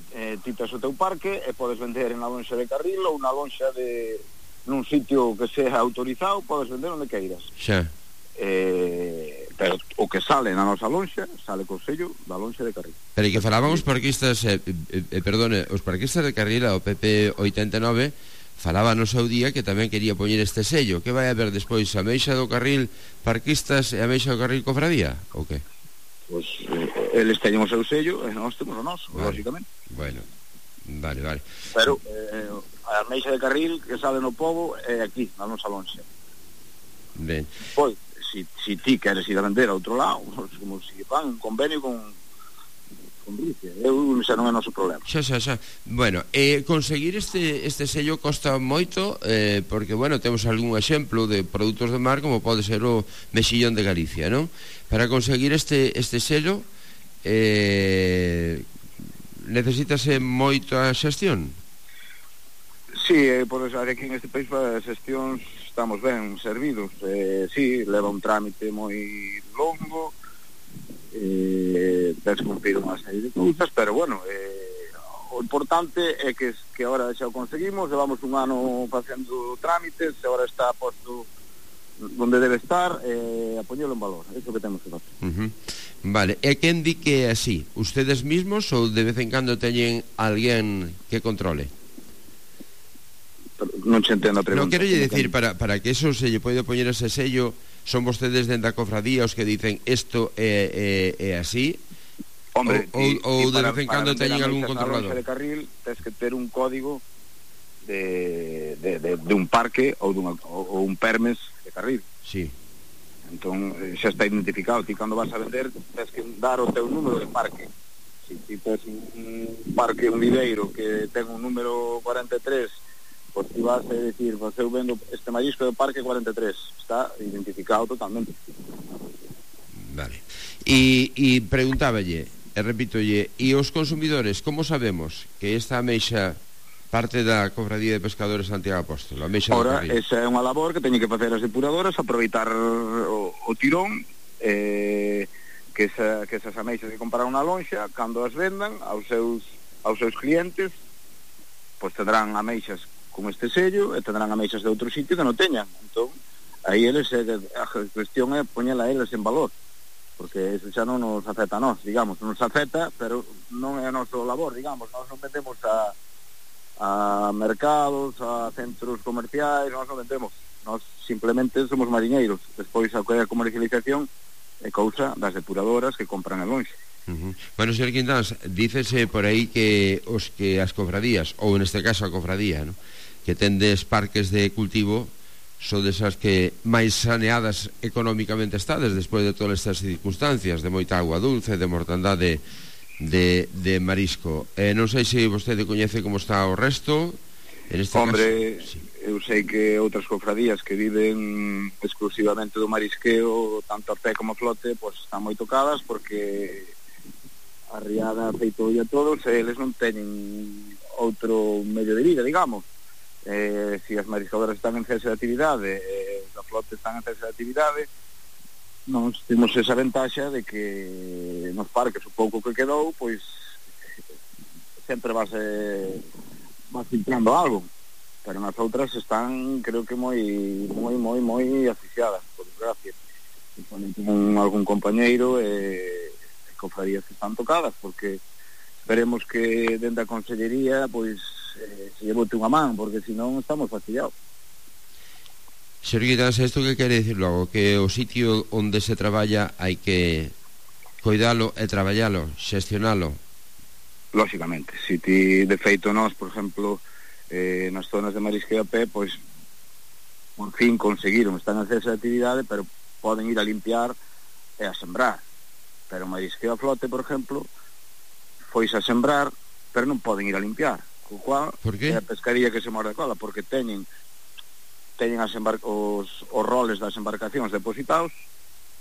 eh, titas o teu parque e podes vender en la lonxa de Carril ou na lonxa de nun sitio que sea autorizado, podes vender onde queiras. Xa. Eh, pero o que sale na nosa lonxa sale co sello da lonxa de Carril. Pero e que falaban os parquistas, eh, eh, eh, perdone, os parquistas de Carril, o P P oitenta e nove, falaba no seu día que tamén quería poñer este sello. Que vai haber despois, a Ameixa do Carril Parquistas e a Ameixa do Carril Cofradía? Ou que? Pois eh, eles teñen o seu sello e nós temos o noso, vale. Lógicamente. Bueno, vale, vale. Pero eh, a Ameixa de Carril que sale no pobo é aquí, na nosa lonxa. Ben. Pois, si, si ti queres ir a vender a outro lado, como si fan un convenio con con Rusia. Eu xa non é noso problema. Xa, xa, xa. Bueno, eh, conseguir este, este sello costa moito, eh, porque, bueno, temos algún exemplo de produtos de mar, como pode ser o mexillón de Galicia, non? Para conseguir este, este sello, eh, necesítase moita xestión? Sí, eh, por eso, aquí en este país para as xestións estamos ben servidos. Eh, sí, leva un trámite moi longo, eh, tens cumprir unha serie de cousas, pero bueno, eh, o importante é que, que agora xa o conseguimos, levamos un ano facendo trámites, agora está posto donde debe estar, eh, a poñelo en valor, é iso que temos que facer. Uh-huh. Vale, e quen di que é así? Ustedes mismos ou de vez en cando teñen alguén que controle? Non se entendo a pregunta. Non quero lle decir, para, para que eso se lle pode poñer ese sello, son vostedes dentro da cofradía os que dicen isto é, é, é así? Hombre, ou, y, ou y de para, vez en cando teñen algún controlador? De carril tens que ter un código de, de, de, de un parque ou, dunha, ou, ou un permes de carril. Sí. Entón, xa está identificado. Ti cando vas a vender tens que dar o teu número de parque. Si ti tens un parque, un viveiro que ten un número cuarenta e tres, pois ti vas a decir, pues, eu vendo este marisco do parque cuarenta e tres, está identificado totalmente. Vale. E, e preguntáballe, e repítolle, e os consumidores, como sabemos que esta ameixa parte da Cofradía de Pescadores Santiago Apóstolo? Ora, esa é unha labor que teñen que facer as depuradoras, aproveitar o, o tirón, eh, que, esa, que esas ameixas que compraron na lonxa, cando as vendan aos seus, aos seus clientes, pois tendrán ameixas con este sello e tendrán ameixas de outro sitio que non teñan. Entón, aí eles, a cuestión é poñela eles en valor, porque eso xa non nos afecta a nós, digamos, nos afecta, pero non é a noso labor, digamos, nós non vendemos a, a mercados, a centros comerciais, nós non vendemos, nós simplemente somos mariñeiros. Despois a comercialización é cousa das depuradoras que compran en lonxe. Uh-huh. Bueno, señor Quintáns, dícese por aí que os que as cofradías, ou neste caso a cofradía, ¿no?, que tendes parques de cultivo, son desas que máis saneadas económicamente estades despois de todas estas circunstancias de moita agua dulce, de mortandade de, de marisco. Eh, non sei se vostede coñece como está o resto en este Hombre, caso. Sí. Eu sei que outras cofradías que viven exclusivamente do marisqueo, tanto a pé como a flote, pois están moi tocadas, porque a riada feito a todos, e eles non teñen outro medio de vida, digamos. Eh, si as mariscadoras están en cese de actividade, eh, a flote están en cese de actividade, nós temos esa ventaxa de que nos parques o pouco que quedou, pois sempre vas, eh, vas filtrando algo, pero nas outras están, creo que moi moi moi moi asfixiadas, por desgracia. E ponen con algún compañeiro e eh, cofradías que están tocadas, porque esperemos que dentro da Consellería pois eh, se lle bote unha man, porque senón estamos fastidiados. Señor Quintáns, isto que quere dicir logo? Que o sitio onde se traballa hai que coidalo e traballalo, xestionalo? Lóxicamente, si ti, de feito, nós, por exemplo, eh, nas zonas de marisqueo a pé, pois por fin conseguiron, están en cese de actividade, pero poden ir a limpiar e a sembrar. Pero marisqueo a flote, por exemplo, foise a sembrar, pero non poden ir a limpiar, co cual é a pescaría que se morde a cola, porque teñen teñen as embar- os, os roles das embarcacións depositados,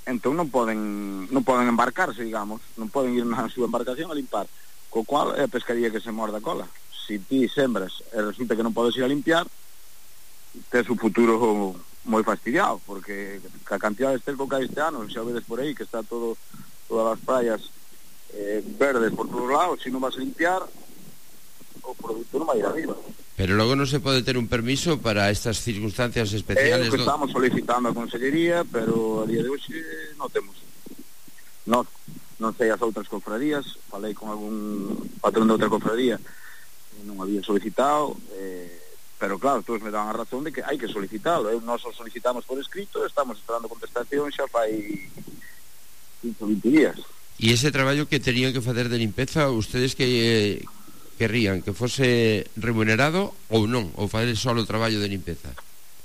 entón non poden non poden embarcarse, digamos, non poden ir na súa embarcación a limpar, co cual é a pescaría que se morde a cola. Si ti sembras e resulta que non podes ir a limpiar, tes o futuro moi fastidiado, porque a cantidad de esterco que hai este ano, xa vedes por aí que está todo todas as praias eh, verdes por todos lados, se non vas a limpiar o produto non vai ir arriba. Pero logo non se pode ter un permiso para estas circunstancias especiales. É o que do... estamos solicitando a Consellería, pero a día de hoxe non temos. Non, non sei as outras cofradías, falei con algún patrón de outra cofradía, non había solicitado, eh, pero claro, todos me dan a razón de que hai que solicitalo. Eu nós o solicitamos por escrito, estamos esperando contestación xa fai quince ou vinte días. E ese traballo que terían que facer de limpeza, ustedes que eh, querrían que fose remunerado ou non, ou fazer só o traballo de limpeza?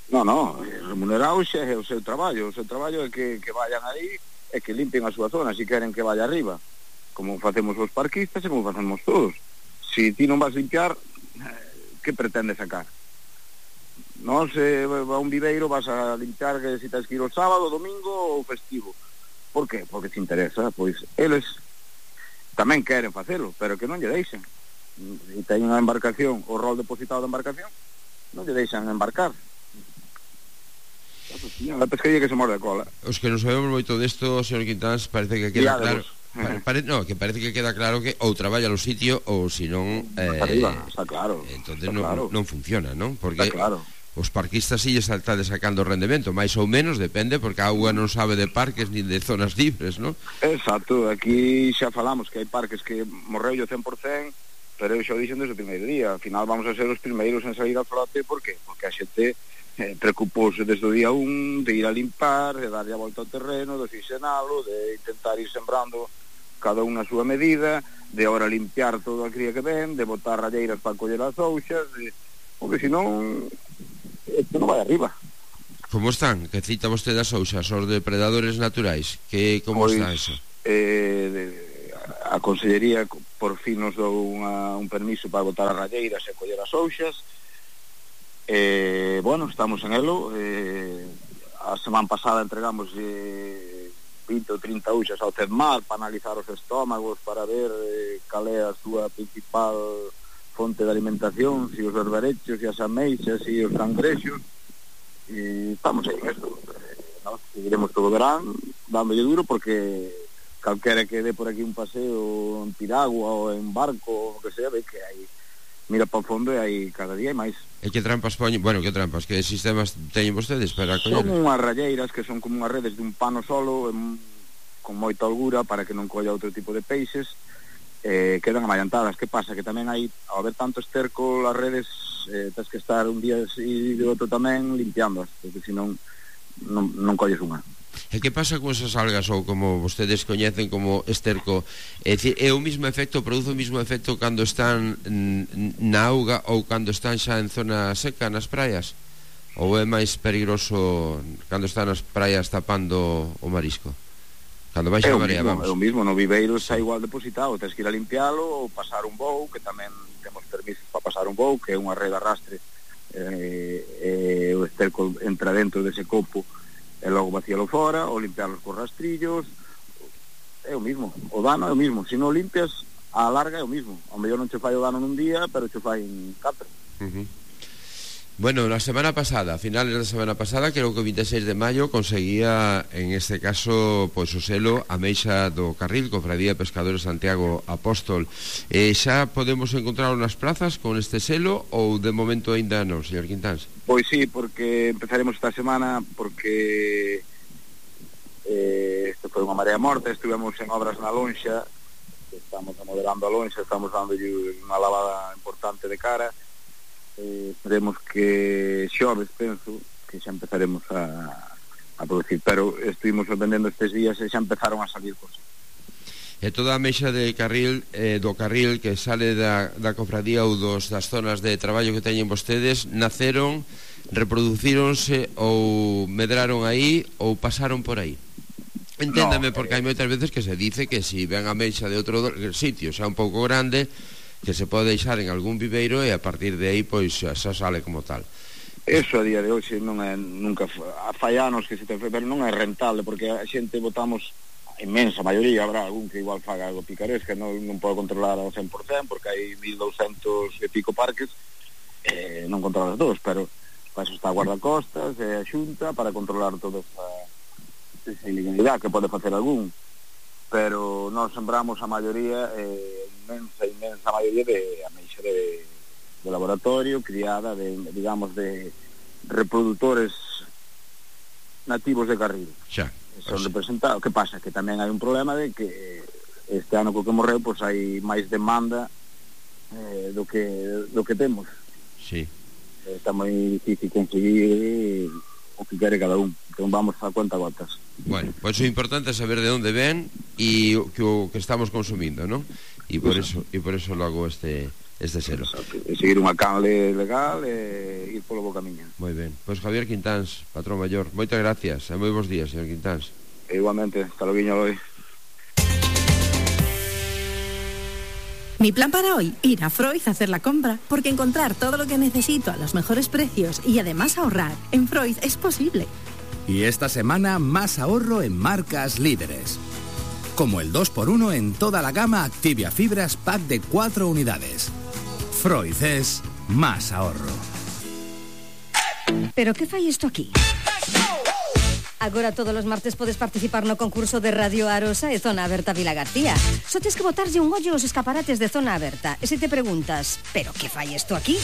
Non, non, remunerado xa é o seu traballo, o seu traballo é que, que vayan aí e que limpen a súa zona, se queren que vaya arriba. como facemos os parquistas e como facemos todos. Si ti non vas limpiar, que pretende sacar? Nos eh, a un viveiro vas a limpiar que si tens que ir o sábado, domingo ou festivo. Por qué? Porque te interesa. Pois eles tamén queren facelo, pero que non lle deixen. Se ten unha embarcación, o rol depositado da embarcación, non lle deixan embarcar. A pescaría que se morde a cola. Os que non sabemos moito desto, señor Quintáns, parece que queda claro. Pare, pare, no, que parece que queda claro que ou traballa no sitio ou se non eh, arriba, está claro. Entonces está non, claro. non funciona, non? Porque está claro. Os parquistas si lles está sacando rendemento, máis ou menos, depende, porque a auga non sabe de parques nin de zonas libres, non? Exacto, aquí xa falamos que hai parques que morreu o cen por cen, pero eu xa o dixen desde o primeiro día. Al final vamos a ser os primeiros en sair a flote, por qué? Porque a xente eh, preocupouse desde o día un de ir a limpar, de darlle a volta ao terreno, de oxigenalo, de intentar ir sembrando cada unha a súa medida, de ahora limpiar todo a cría que ven, de botar ralleiras para coller as ouxas, de... porque senón isto non vai arriba. Como están? Que cita vostede as ouxas, os depredadores naturais? Que como Pois, está eso? Eh, de, a Consellería por fin nos dou unha, un permiso para botar as ralleiras e coller as ouxas. Eh, bueno, estamos en elo. Eh, a semana pasada entregamos eh, vinte ou trinta ouxas ao CEDMAR para analizar os estómagos, para ver eh, cal é a súa principal fonte de alimentación, si os berberechos, si as ameixas, si os cangrexos, e estamos aí en esto. Eh, no, seguiremos todo o verán dándolle duro, porque calquera que dé por aquí un paseo en piragua ou en barco, o que sea, ve que hai, mira para o fondo e hai cada día máis. E que trampas poñen? Bueno, que trampas, que sistemas teñen vostedes para coller? Son unhas ralleiras que son como unhas redes de un pano solo, en, con moita holgura para que non colla outro tipo de peixes, eh, quedan amallantadas. Que pasa? Que tamén hai, ao haber tanto esterco, as redes eh, tens que estar un día e de outro tamén limpiándoas, porque senón non, non colles unha. E que pasa con esas algas, ou como vostedes coñecen como esterco? É dicir, é o mismo efecto, produce o mismo efecto cando están na auga ou cando están xa en zona seca nas praias? Ou é máis peligroso cando están nas praias tapando o marisco? Cando vai xa a marea, vamos. É o mismo, no viveiro está igual depositado, tens que ir a limpialo ou pasar un bou, que tamén temos permisos para pasar un bou, que é unha rede arrastre, eh, eh, o esterco entra dentro dese copo e logo vacíalo fora, ou limpiarlos con rastrillos. É o mismo, o dano é o mismo. Se non limpias, a larga é o mismo. O mellor non che fai o dano nun día, pero che fai en catro. Uh-huh. Bueno, la semana pasada, a finales da semana pasada, creo que o vinte e seis de maio conseguía, en este caso, pois o selo Ameixa do Carril, Cofradía de Pescadores Santiago Apóstol. Eh, xa podemos encontrarlo nas plazas con este selo ou de momento ainda non, señor Quintáns? Pois sí, porque empezaremos esta semana, porque eh, este foi unha marea morta, estivemos en obras na lonxa, estamos modelando a lonxa, estamos dando unha lavada importante de cara. Eh, esperemos que xoves, penso que xa empezaremos a, a producir, pero estuvimos vendendo estes días e xa empezaron a salir cosas. E toda a ameixa de carril, eh, do carril que sale da, da cofradía ou dos, das zonas de traballo que teñen vostedes, naceron, reproducíronse ou medraron aí ou pasaron por aí? Enténdame, no, porque hai moitas veces que se dice que si ven a ameixa de outro sitio xa un pouco grande, que se pode deixar en algún viveiro e a partir de aí pois xa sale como tal. Eso a día de hoxe non é nunca fai anos que se ten, pero non é rentable, porque a xente votamos, a inmensa maioría, habrá algún que igual faga algo picaresca, non, non pode controlar ao cen por cen porque hai mil douscentos e pico parques, eh, non controlas todos, pero para eso está a guardacostas e a xunta para controlar toda esa, esa ilegalidade que pode facer algún, pero nós sembramos a maioría, eh, inmensa, inmensa maioría de ameixa de, de laboratorio, criada de, digamos, de reproductores nativos de Carril. Xa. Son representados. Que pasa? Que tamén hai un problema de que este ano co que morreu, pois hai máis demanda eh, do que do que temos. Sí. Está moi difícil conseguir o que quere cada un. Entón vamos a cuenta gotas. Bueno, pois pues o importante é saber de onde ven e o que, o que estamos consumindo, non? E por eso, e por eso logo este este selo. E seguir unha canle legal e ir polo bo camiño. Moi ben. Pois pues Javier Quintáns, patrón maior, moitas gracias e moi bons días, señor Quintáns. E igualmente, hasta logo, Loi. Mi plan para hoy, ir a Freud a hacer la compra, porque encontrar todo lo que necesito a los mejores precios y además ahorrar en Freud es posible. Y esta semana más ahorro en marcas líderes. Como el dos por uno en toda la gama Activia Fibras pack de cuatro unidades. Freud es más ahorro. Pero que fai isto aquí? Agora todos os martes podes participar no concurso de Radio Arosa e Zona Aberta Vila García. Só tes que botarlle un ollo aos escaparates de Zona Aberta. E se te preguntas, pero que fai isto aquí?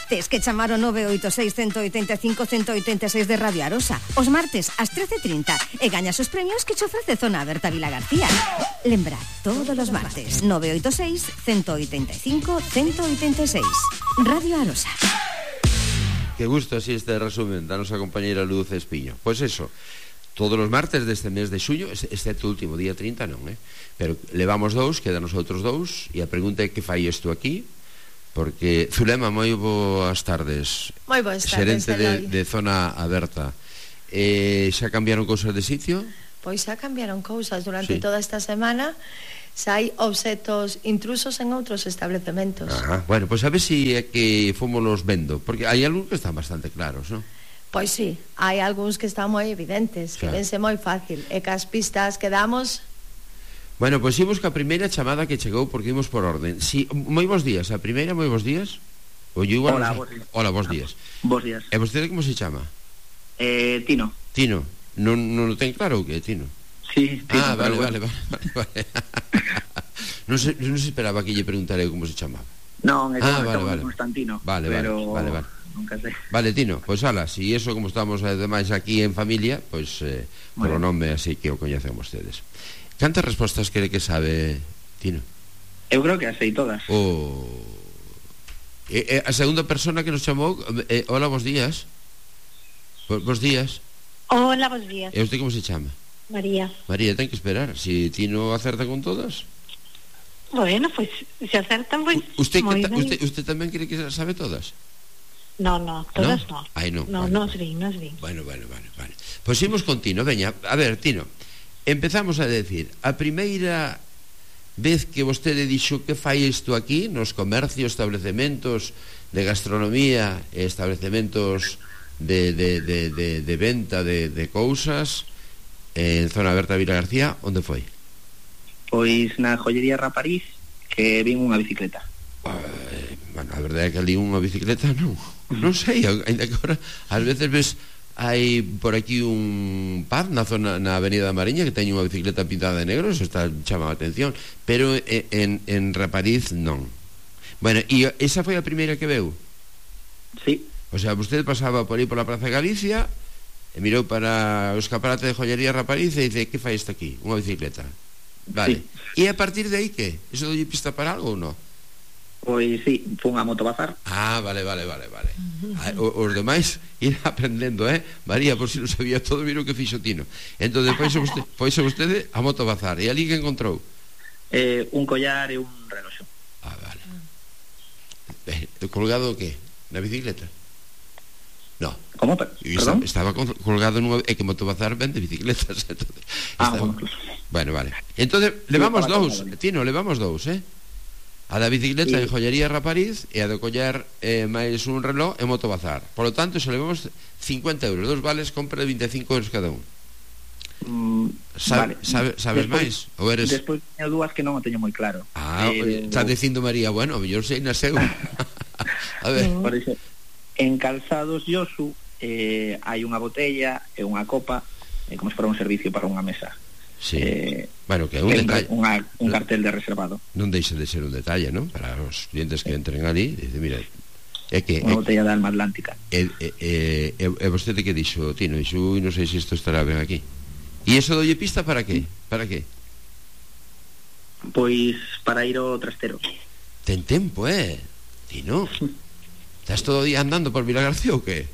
Tes que chamar o nove oito seis, uno oito cinco, uno oito seis de Radio Arosa os martes ás trece e trinta e gañas os premios que che ofrece Zona Aberta Vila García. Lembra, todos os martes, nove oito seis, uno oito cinco, uno oito seis. Radio Arosa. Que gusto así este resumen da nosa compañeira Luz Espiño. Pois eso, todos os martes deste mes de xuño, excepto o último día trinta non, eh? Pero levamos dous, quedan os outros dous, e a pregunta é que fai isto aquí, porque Zulema, moi boas tardes. Moi boas tardes, xerente de, de Zona Aberta. Eh, xa cambiaron cousas de sitio? Pois xa cambiaron cousas durante sí. toda esta semana. Xa hai obxetos intrusos en outros establecementos. Ajá. Bueno, pois a ver se si é que fomos vendo, porque hai algúns que están bastante claros, non? Pois sí, hai algúns que están moi evidentes, que vense moi fácil, e que as pistas que damos. Bueno, pois imos ca primeira chamada que chegou, porque imos por orden. Si, moi bons días, a primeira, moi bons días. O yo igual Hola, no bos días. Hola, bos días. Bos días. E vostede como se chama? Eh, Tino. Tino. Non, non o ten claro o que é Tino? Sí, Tino. Ah, vale, bueno. vale, vale, vale. non, se, non se esperaba que lle preguntare como se chamaba. Non, é ah, como vale, vale. Constantino. Vale, pero... vale, vale, vale. Nunca sei. Vale, Tino, pois ala, si eso como estamos ademais aquí en familia, pois eh, por o nome así que o coñecen vostedes. Cantas respostas cree que sabe Tino? Eu creo que as sei todas. O... E, e, a segunda persona que nos chamou, eh, hola, bos días. Bo, bos días. Hola, bos días. E usted como se chama? María. María, ten que esperar. Si Tino acerta con todas. Bueno, pues se acertan, pues. ¿Usted, que ta, usted, usted tamén cree que sabe todas? No, no, todas no. no. Ay, no. No, vale, no vale. es bien, no es bien. Bueno, bueno, vale, vale. Pois imos con Tino, veña. A ver, Tino, empezamos a decir, a primeira vez que vostede dixo que fai isto aquí, nos comercios, establecementos de gastronomía, establecementos de, de, de, de, de venta de, de cousas, en Zona Aberta Vila García, onde foi? Pois na joyería Rapariz, que vin unha bicicleta. Eh, bueno, a verdade é que ali unha bicicleta non non sei, ainda que ahora ás veces ves hai por aquí un pub na zona, na avenida da Mariña, que teñe unha bicicleta pintada de negro, eso está chama a atención, pero en, en Rapariz non. Bueno, e esa foi a primeira que veu? Sí. O sea, vostede pasaba por aí pola Praza de Galicia e mirou para o escaparate de joyería Rapariz e dice, que fai isto aquí? Unha bicicleta. Vale. Sí. E a partir de aí que? Eso dolle pista para algo ou non? Pois sí, fun a Motobazar. Ah, vale, vale, vale, vale. O, os demais ir aprendendo, eh? María, por si non sabía todo, miro que fixo Tino. Entón, pois vostede, pois vostede a Motobazar. E ali que encontrou? Eh, un collar e un reloxo. Ah, vale. Eh, colgado o que? Na bicicleta? No. Como? Perdón? Estaba colgado nunha... É que Motobazar vende bicicletas. Entonces, ah, estaba... bueno. Bueno, vale. Entón, levamos dous, Tino, levamos dous, eh? A da bicicleta sí. En joyería Rapariz e a de collar eh, máis un reloj en Motobazar. Por lo tanto, se levamos cincuenta euros, dos vales, compra de veinticinco euros cada un. Mm, Sabe, vale. sabe, sabes máis? Ou eres... Despois teño dúas que non o teño moi claro. Ah, eh, está dicindo María, bueno, mellor sei na seu. A ver. Por iso, en Calzados Yosu eh, hai unha botella e unha copa, eh, como se fora un servicio para unha mesa. Sí. Eh, bueno, que é un detalle, unha, un cartel de reservado. Non deixa de ser un detalle, non? Para os clientes que entren ali, dice, mira, é que unha botella de alma atlántica. E, e, e, e vostede que dixo, Tino, dixo, ui, non sei se isto estará ben aquí. E iso dolle pista para que? Para que? Pois para ir ao trastero. Ten tempo, eh? Tino, estás todo o día andando por Vila García ou que?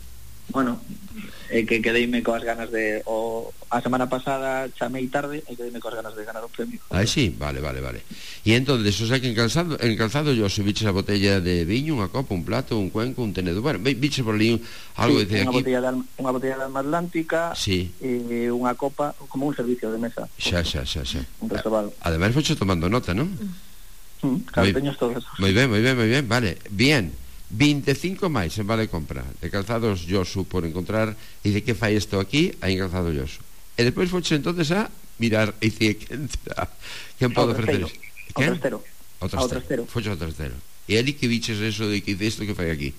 Bueno, é que quedeime coas ganas de o, a semana pasada chamei tarde e quedeime coas ganas de ganar un premio. Ah, sí, vale, vale, vale. E entón, o sea que en calzado, en calzado yo subiches a botella de viño, unha copa, un plato, un cuenco, un tenedor. Bueno, biche por ali un, algo sí, de unha aquí. Botella de alma, unha botella de alma atlántica, sí. E unha copa como un servicio de mesa. Xa, xa, xa, xa. Un reservado. Ademais, foche tomando nota, non? Calceños todos. Moi ben, moi ben, moi ben, vale. Bien, veinticinco máis en vale compra de calzados Josu por encontrar. E de que fai isto aquí? Aí en calzado Josu. E despois foches entonces a mirar e dicir quen será, quen pode ofrecer isto. Ao trastero. Ao trastero. Foches ao trastero. E ali que viches eso de que isto que fai aquí?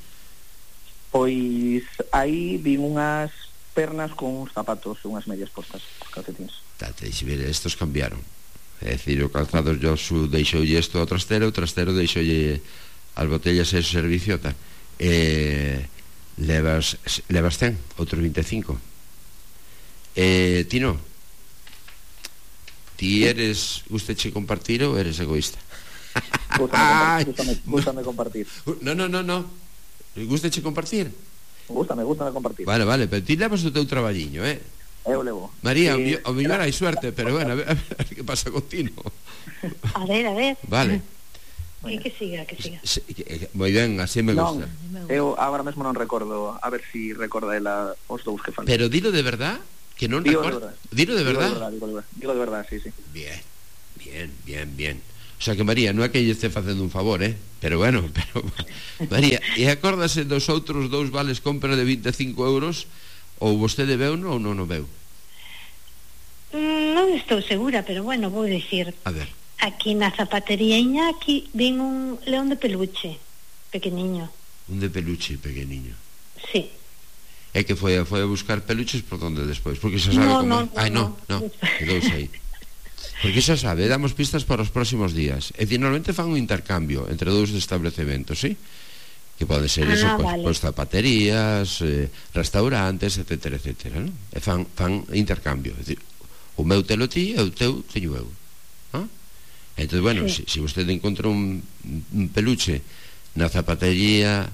Pois aí vi unhas pernas con uns zapatos e unhas medias postas, calcetins. Tate, deixe ver, estos cambiaron. É dicir, o calzado Josu deixoulle isto ao trastero, o trastero deixoulle as botellas e ese servicio tal. E levas levas cen, outros veinticinco. Eh, Tino, ti eres gusteche compartir ou eres egoísta? Gústame, gústame compartir. No, no, no, no. Gusteche compartir? Gústame, gústame compartir. Vale, vale, pero ti levas o teu traballiño, eh? Eu levo. María, eh, o mellor hai suerte, pero bueno, a ver, a ver que pasa con Tino. A ver, a ver. Vale. Que, que siga, que siga. Moi ben, así me gusta. Non, eu agora mesmo non recordo, a ver si recorda ela os dous que faltan. Pero dilo de verdad, que non recorda. Dilo de verdad. Digo de verdad, digo de verdad, sí, sí. Bien, bien, bien, bien. O sea que María, non é que lle este facendo un favor, eh? Pero bueno, pero María, e acórdase dos outros dous vales compra de veinticinco euros? Ou vostede veu ou non o veu? Mm, non estou segura, pero bueno, vou dicir. A ver. Aquí na zapatería Iñaki vin un león de peluche pequeniño. Un de peluche pequeniño. Sí. É que foi, foi a buscar peluches por donde despois? Porque xa sabe no, como... No, Ai, no, no, quedouse aí. Porque xa sabe, damos pistas para os próximos días. E normalmente fan un intercambio entre dous establecementos, sí? Que pode ser ah, eso, pois, vale. Pois zapaterías, eh, restaurantes, etcétera, etcétera, ¿no? E fan, fan intercambio. É dicir, o meu telo ti e o teu teño eu. ¿Ah? Entón, bueno, sí. se si, si vostede encontra un, un peluche na zapatería...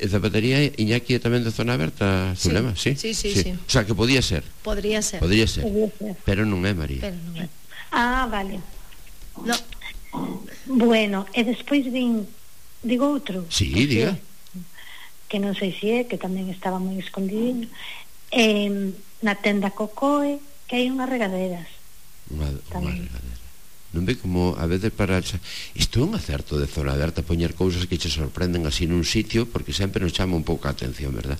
E zapatería Iñaki é tamén de zona aberta, Zulema, sí? Sí, sí, sí, sí. O sea, que podía ser. Podría ser. Podría ser. Podría ser. Pero non é, María. Pero non é. Ah, vale. No. Bueno, e despois vin... Digo outro? Sí, diga. Que non sei se é, que tamén estaba moi escondidinho. Eh, na tenda Cocoe, que hai unhas regaderas. Unha, unha regadera. Non ve como a veces para... Isto é un acerto de zona aberta, poñer cousas que che sorprenden así nun sitio, porque sempre nos chama un pouco a atención, verdad?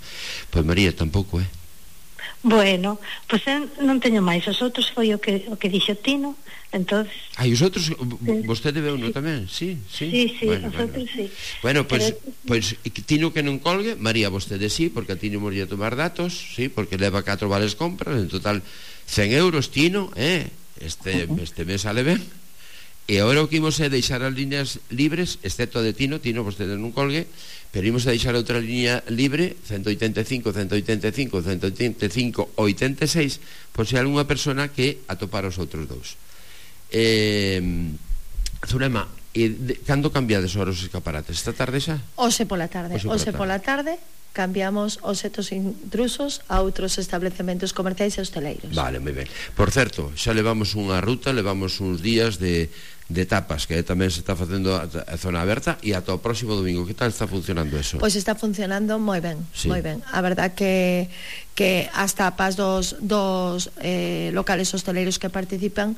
Pois María, tampouco, eh? Bueno, pois pues, non teño máis. Os outros foi o que o que dixo Tino. Entonces... Ah, e os outros, sí. Vostede veu non tamén? Sí, sí. Sí, sí, bueno, os bueno. outros sí. Bueno, pois, pues, pues, Tino que non colgue, María vostede sí, porque a Tino morría a tomar datos, sí, porque leva catro vales compras, en total cen euros, Tino, eh? Este, uh -huh. este mes sale ben. E agora o que imos é deixar as líneas libres, excepto de Tino, Tino vostede non colgue, pero imos a deixar outra línea libre, ciento oitenta e cinco, ciento oitenta e cinco, ciento oitenta e cinco, oitenta e seis, por se algunha persona que atopar os outros dous. Eh, Zulema, e de, cando cambiades os escaparates? Esta tarde xa? Ose pola tarde. Ose pola, Ose pola tarde. tarde cambiamos os setos intrusos a outros establecementos comerciais e hosteleiros. Vale, moi ben. Por certo, xa levamos unha ruta, levamos uns días de, de tapas, que tamén se está facendo a, a zona aberta, e ata o próximo domingo. Que tal está funcionando eso? Pois está funcionando moi ben, sí. moi ben. A verdad que que as tapas dos, dos eh, locales hosteleiros que participan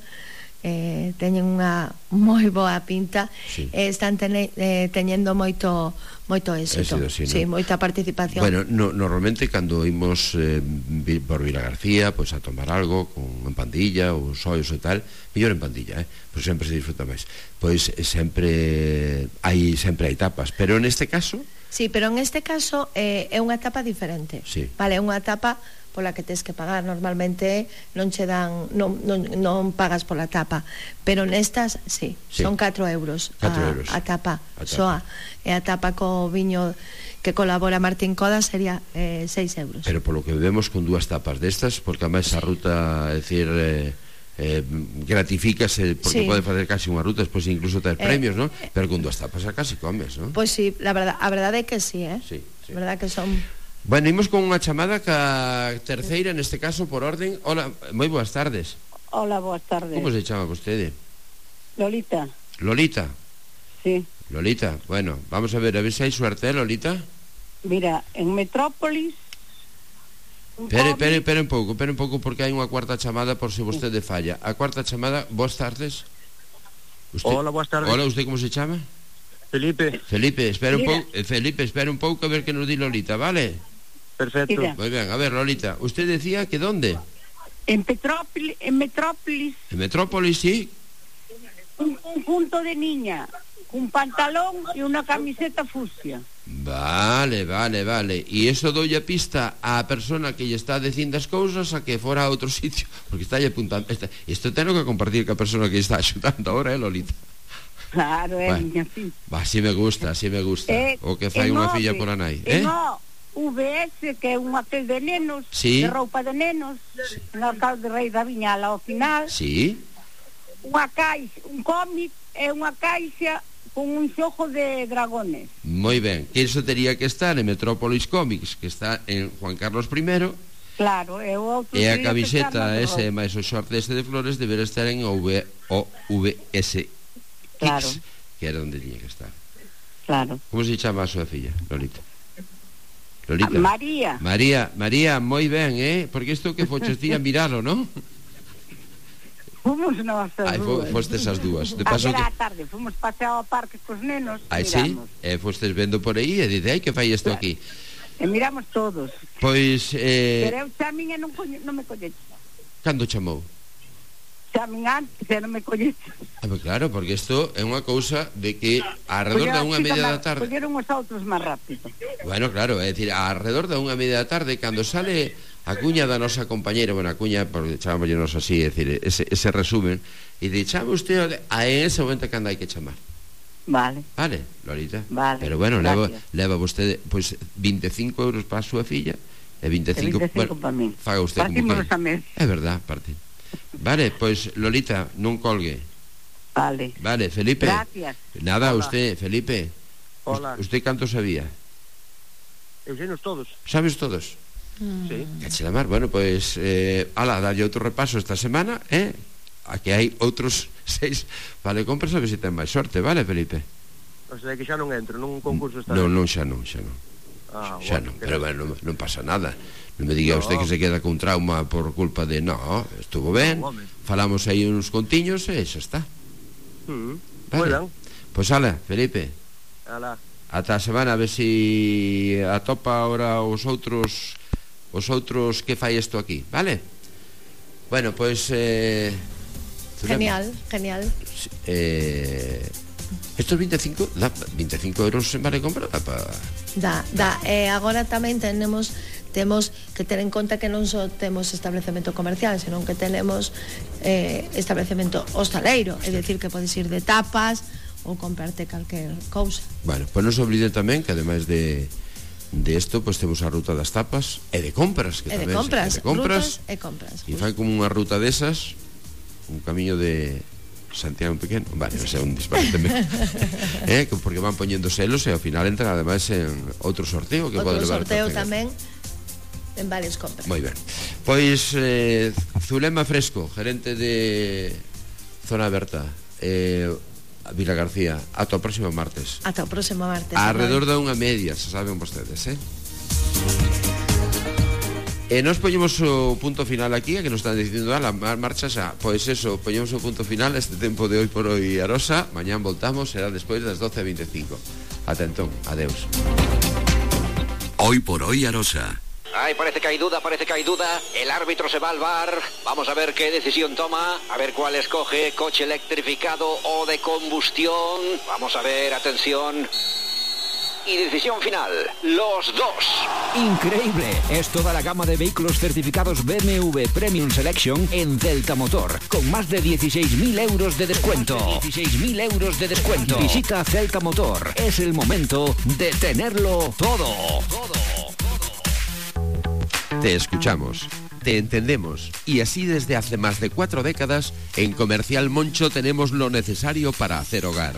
Eh, teñen unha moi boa pinta, sí. eh, están tene, eh, teñendo moito moito éxito, sí, sí, ¿no? moita participación. Bueno, no, normalmente cando imos eh, por Vila García, pois pues, a tomar algo con en pandilla ou xoios e tal, mellor en pandilla, eh? Pois sempre se disfruta máis. Pois eh, sempre hai sempre hai tapas, pero neste caso sí, pero en este caso eh, é unha etapa diferente, sí. Vale, é unha etapa pola que tes que pagar. Normalmente non che dan, non, non, non pagas pola tapa, pero nestas, sí, sí. Son catro euros, catro a, euros. a tapa, a tapa. Soa, e a tapa co viño que colabora Martín Coda sería eh, seis euros. Pero polo que vemos con dúas tapas destas, porque a máis a ruta, é dicir, eh, eh, gratifícase, porque sí. Pode facer casi unha ruta, despois incluso ter eh, premios, ¿no? Pero con dúas tapas a casi comes, ¿no? Pois pues sí, la verdad, a verdade é que sí, eh? Sí, sí. A verdade que son... Bueno, imos con unha chamada ca terceira, neste caso, por orden. Hola, moi boas tardes. Hola, boas tardes. Como se chama vostede? Lolita. Lolita? Sí. Lolita, bueno, vamos a ver, a ver se hai suerte, Lolita. Mira, en Metrópolis... Pere, pere, pere un pouco, pere un pouco, porque hai unha cuarta chamada por se vostede falla. A cuarta chamada, boas tardes. Usted... Hola, buenas tardes. Hola, ¿usted cómo se llama? Felipe. Felipe, espera un Mira. pouco, Felipe, espera un pouco a ver que nos di Lolita, ¿vale? Perfecto. Mira. Muy bien, a ver, Lolita, usted decía que ¿dónde? En Petrópolis, en Metrópolis, En Metrópolis, sí. un conjunto de niña, un pantalón y una camiseta fucsia. Vale, vale, vale. E iso doulle a pista á persona que lle está dicindo as cousas a que fora a outro sitio, porque está lle apuntando. Esta, isto tengo que compartir ca persona que está axudando ahora, eh, Lolita? Claro, é Bueno. miña fi. Va, así me gusta, así me gusta. Eh, O que fai en unha nove, filla por a nai, eh? en O V S, que é un hotel de nenos, Sí. de roupa de nenos, en Alcalde Rei da Viñala ao final, Sí. unha caixa, un cómic e unha caixa con un xojo de dragones. Moi ben, que iso tería que estar en Metrópolis Comics, que está en Juan Carlos I, Claro, e o outro e a tería que camiseta estar no ese Terror. máis o short este de flores deberá estar en O V S Claro, que era onde tiña que estar. claro. Como se chama a súa filla, Lolita? Lolita. María. María, María, moi ben, eh? Porque isto que foches ti a miralo, non? Fomos nós as Ai, fo, dúas. fostes as dúas. De paso Ayer que... á tarde fomos pasear ao parque cos nenos. Ai, sí? Miramos. E fostes vendo por aí e dice, ai, que fai isto aquí? E miramos todos. Pois, eh... Pero eu chamín e non, coñe, non me colleche. cando chamou? Chamín antes e non me colleche. Ah, pues claro, porque isto é unha cousa de que alrededor da unha media da tarde. Colleron os outros máis rápido. Bueno, claro, é dicir, alrededor da unha media da tarde, cando sale a cuña da nosa compañera, bueno, a cuña, porque chamámonos así, é dicir, ese, ese resumen, e de chama usted a ese momento cando hai que chamar. Vale. Vale, Lolita. Vale, Pero bueno, leva, gracias. leva vostede pois veinticinco euros para a súa filla e veinticinco, E veinticinco bueno, para min. faga usted como Partimos cal. a mes. É verdad, parte. Vale, pois Lolita, non colgue. Vale. Vale, Felipe. Gracias. Nada, Hola. usted, Felipe. Hola. Usted canto sabía? Eusenos todos. Sabes todos? Sí. Cache la mar. Bueno, pois eh, ala, dalle outro repaso esta semana, eh? A que hai outros seis. Vale, compras a ver se ten máis sorte, vale, Felipe? O sea, que xa non entro nun concurso esta Non, vez. non, xa non, xa non. Ah, Xa bueno, non, que pero non. bueno, non, non pasa nada. Non me diga No. usted que se queda con trauma por culpa de... No, estuvo ben, No, home. falamos aí uns contiños e xa está. Mm. Vale. Moi ben. Pois ala, Felipe, Alá. ata a semana a ver si atopa ahora os outros os outros que fai isto aquí, vale? Bueno, pois eh, Genial, genial. eh, estos veinticinco da, veinticinco euros en vale compra da pa... Da, da, e agora tamén tenemos temos que ter en conta que non só temos establecemento comercial, senón que tenemos eh, establecemento hostaleiro, é dicir que podes ir de tapas ou comprarte calquer cousa. Bueno, pois non se olviden tamén que ademais de de isto, pois temos a ruta das tapas e de compras, que E de tamén compras, se, de compras rutas e compras. e fai como unha ruta desas, un camiño de Santiago pequeno, vale, non sei, un disparate eh, porque van poñendo selos e ao final entran ademais en outro sorteo que pode Outro levar sorteo para tamén en varias compras. Moi ben. Pois eh, Zulema Fresco, gerente de Zona Aberta, eh, Vila García, ata o próximo martes. Ata o próximo martes. Alrededor da unha media, se saben vostedes, eh? E nos poñemos o punto final aquí, a que nos están dicindo a la marcha xa. Pois eso, poñemos o punto final este tempo de hoy por hoy Arosa. Mañán voltamos, será despois das doce e veinticinco. Ata entón, adeus. Hoy por hoy Arosa. Ay, parece que hay duda, parece que hay duda. El árbitro se va al bar. Vamos a ver qué decisión toma. A ver cuál escoge. Coche electrificado o de combustión. Vamos a ver, atención. Y decisión final, los dos. Increíble, es toda la gama de vehículos certificados B M W Premium Selection en Celta Motor, con más de dieciséis mil euros de descuento. dieciséis mil euros de descuento. Visita Celta Motor, es el momento de tenerlo todo. Te escuchamos, te entendemos y así desde hace más de cuatro décadas en Comercial Moncho tenemos lo necesario para hacer hogar.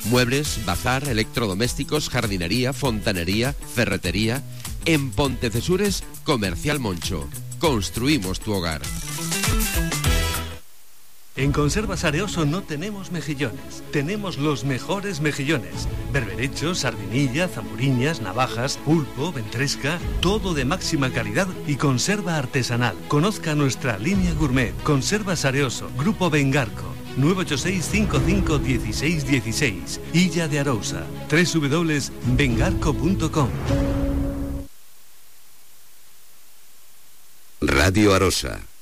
Muebles, bazar, electrodomésticos, jardinería, fontanería, ferretería. En Pontecesures, Comercial Moncho. Construimos tu hogar. En Conservas Areoso no tenemos mejillones, tenemos los mejores mejillones. Berberechos, sardinilla, zamburiñas, navajas, pulpo, ventresca, todo de máxima calidad y conserva artesanal. Conozca nuestra línea gourmet, Conservas Areoso, Grupo Bengarco. nueve ocho seis cinco cinco uno seis uno seis. Illa de Arousa, doble u doble u doble u punto bengarco punto com. Radio Arosa.